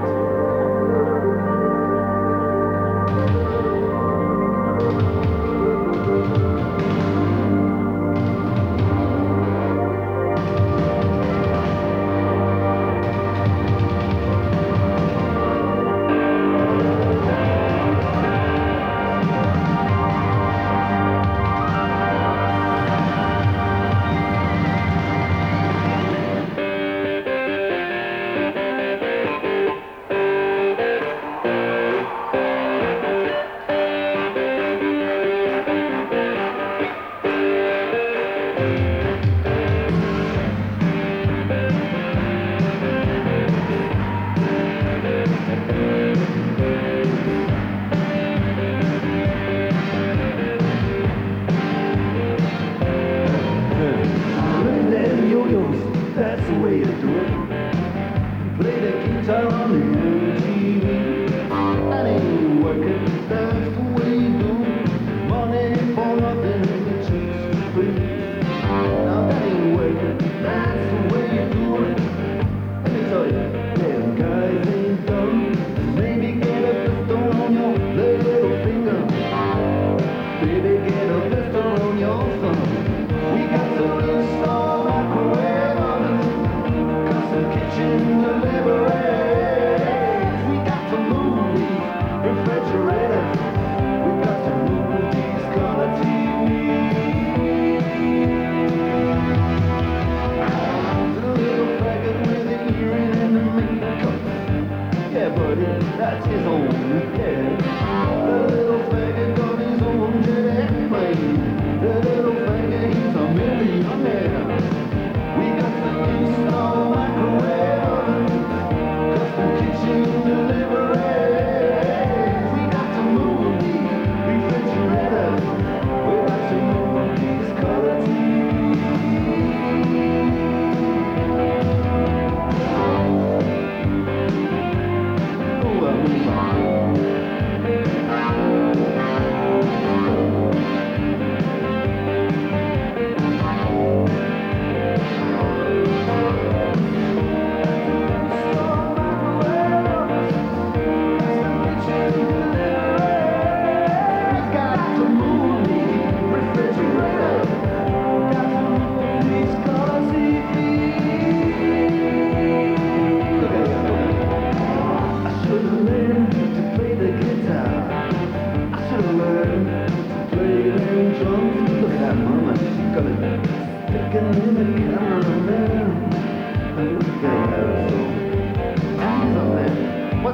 Look at them yo-yos, that's the way to do it. Play the guitar on the MTV. That ain't working, that's the way you do it. Money for nothing and the chicks for free. Now that ain't working, that's the way you do it. Let me tell you, them guys ain't dumb. Maybe get a blister on your little finger. Baby, get a blister on your thumb. We got to install microwave ovens, custom kitchen deliveries. We got to move these refrigerators. We got to move these color TVs. The little faggot with the earring and the makeup. Yeah, buddy, that's his own. Yeah. The little faggot got his own jet airplane. The little faggot, he's a millionaire. We got to install microwave ovens, custom kitchen deliveries. We got to move these refrigerators. We got to move these color TVs. Oh, I move on.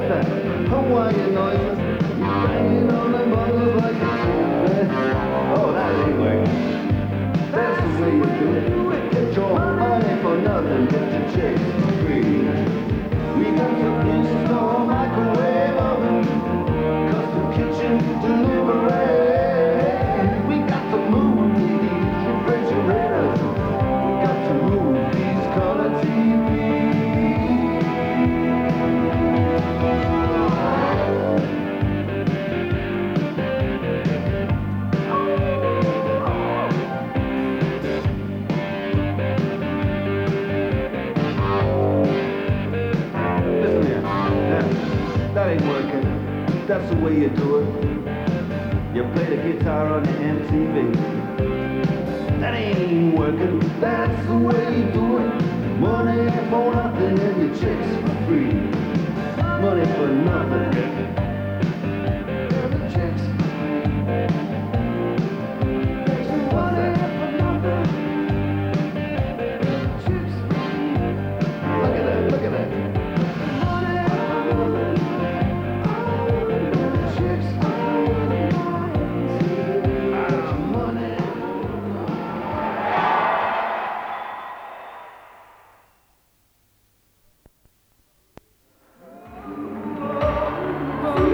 What's that? Hawaiian noises. You banging on the bongos like a chimney. Oh, that ain't working. That's the way you do it. Get your money for nothing, get your chicks for free. We got to install microwave oven, custom kitchen delivery. We got to move these refrigerators. We got to move these color TVs. Listen here. Now, that ain't working. That's the way you do it. You play the guitar on the MTV. That ain't working. That's the way you do it. Money for nothing and your chicks for free. Money for nothing. And the chicks for free. What's that? Chicks for free. Look at that. Look at that. Chicks for free. Money.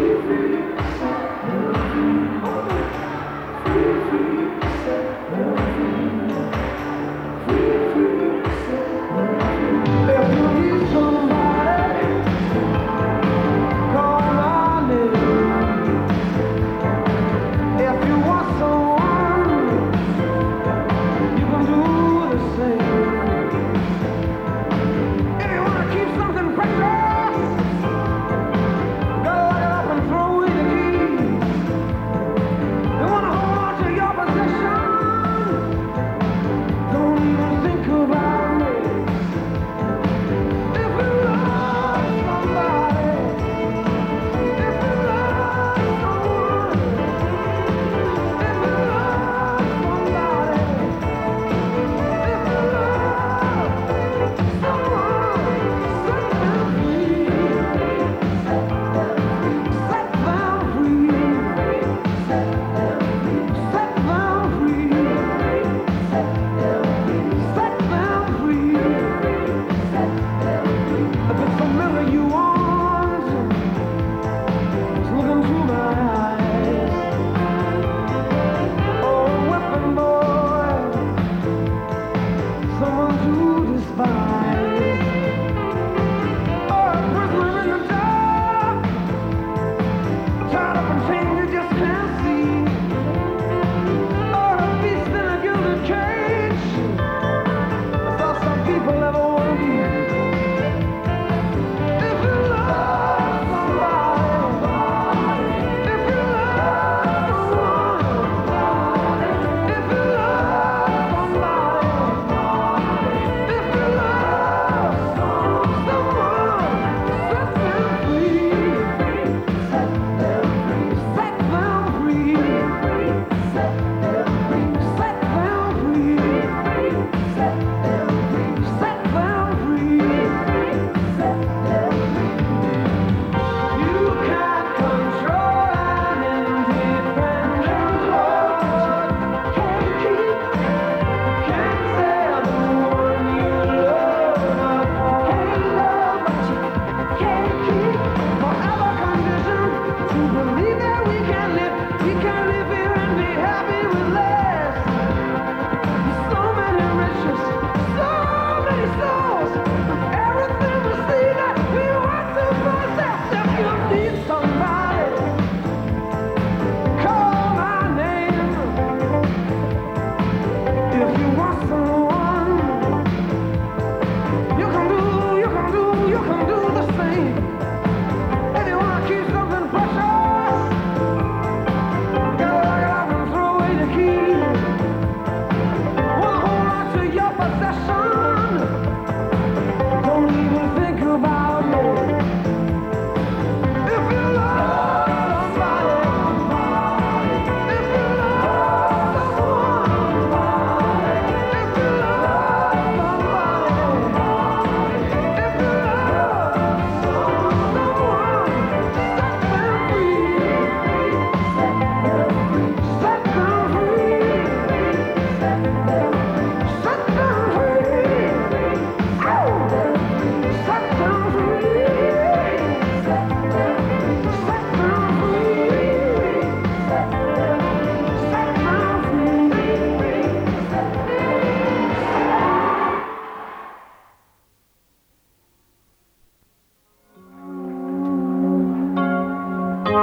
I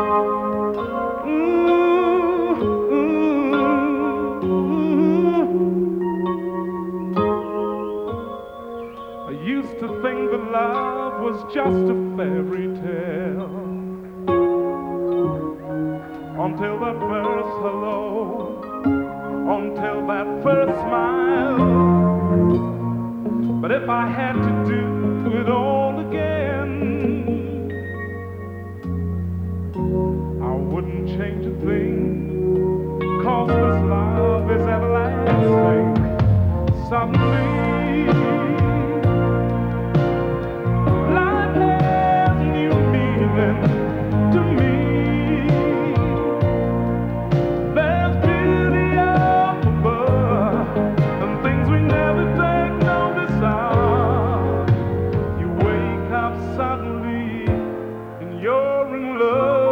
used to think that love was just a fairy tale until that first hello, until that first smile. But if I had to do it all again, I wouldn't change a thing, 'cause this love is everlasting. Suddenly, life has new meaning to me. There's beauty up above and things we never take notice of. You wake up suddenly and you're in love.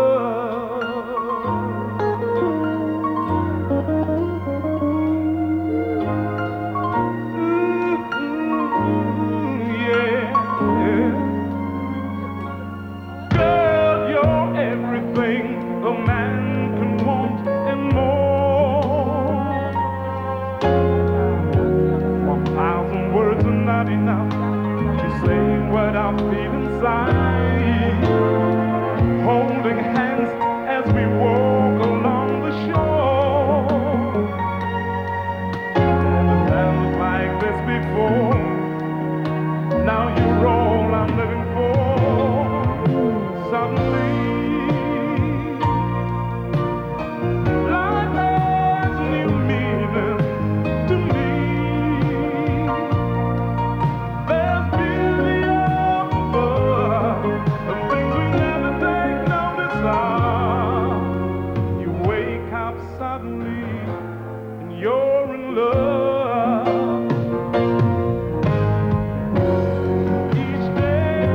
Yeah. Girl, you're everything a man can want and more. 1,000 words are not enough to say what I feel inside. Holding hands as we walk along the shore. Never felt like this before. Now you're all I'm living for. Suddenly, life has new meaning to me. There's beauty up above and things we never take notice of. You wake up suddenly and you're in love. Each day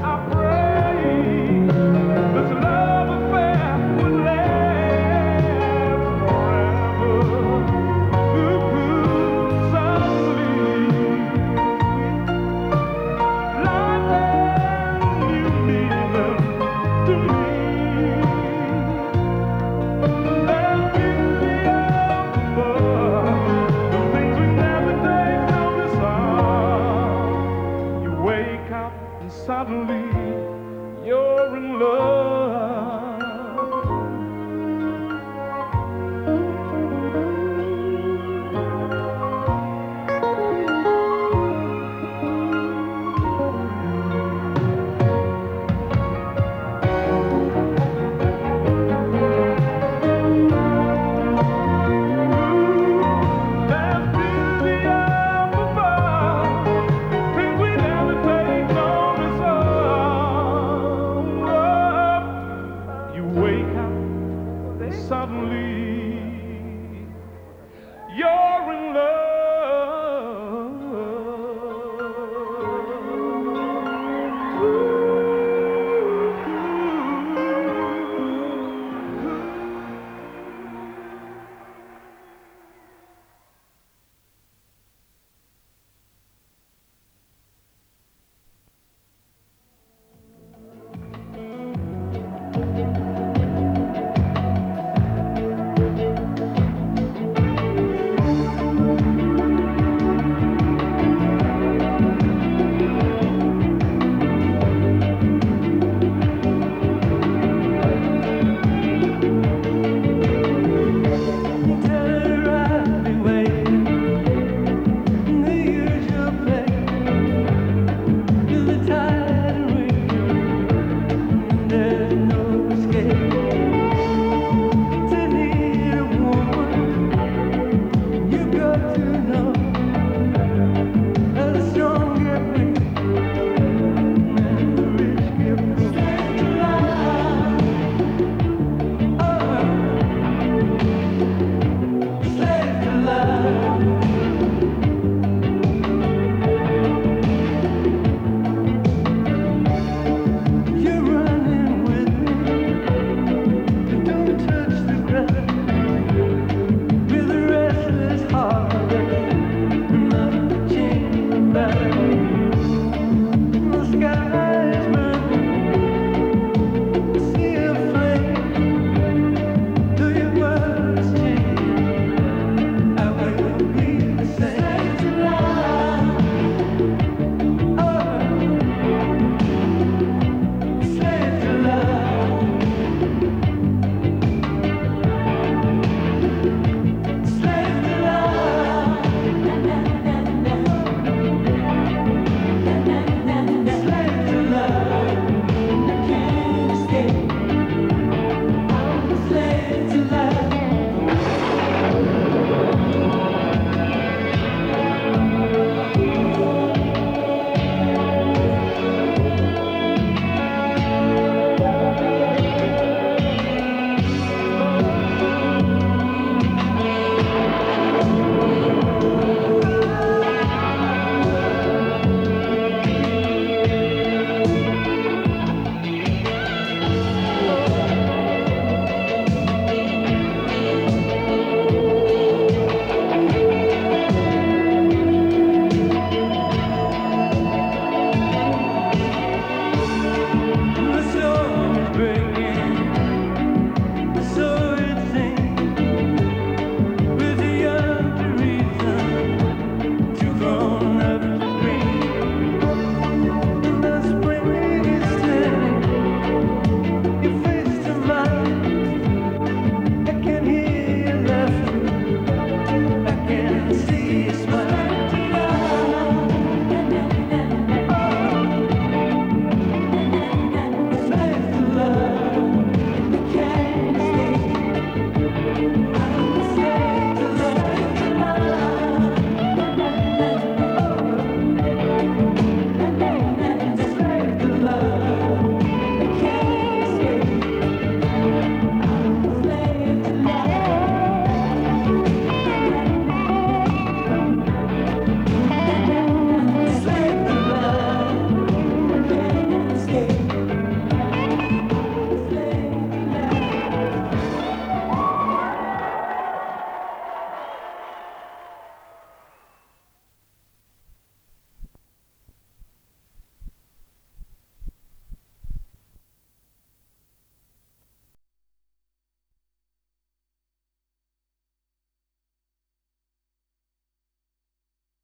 I pray this love affair would last forever. Ooh, suddenly, life has new meaning to me. There's beauty up above, the things we never take notice of. You wake up and suddenly you're in love.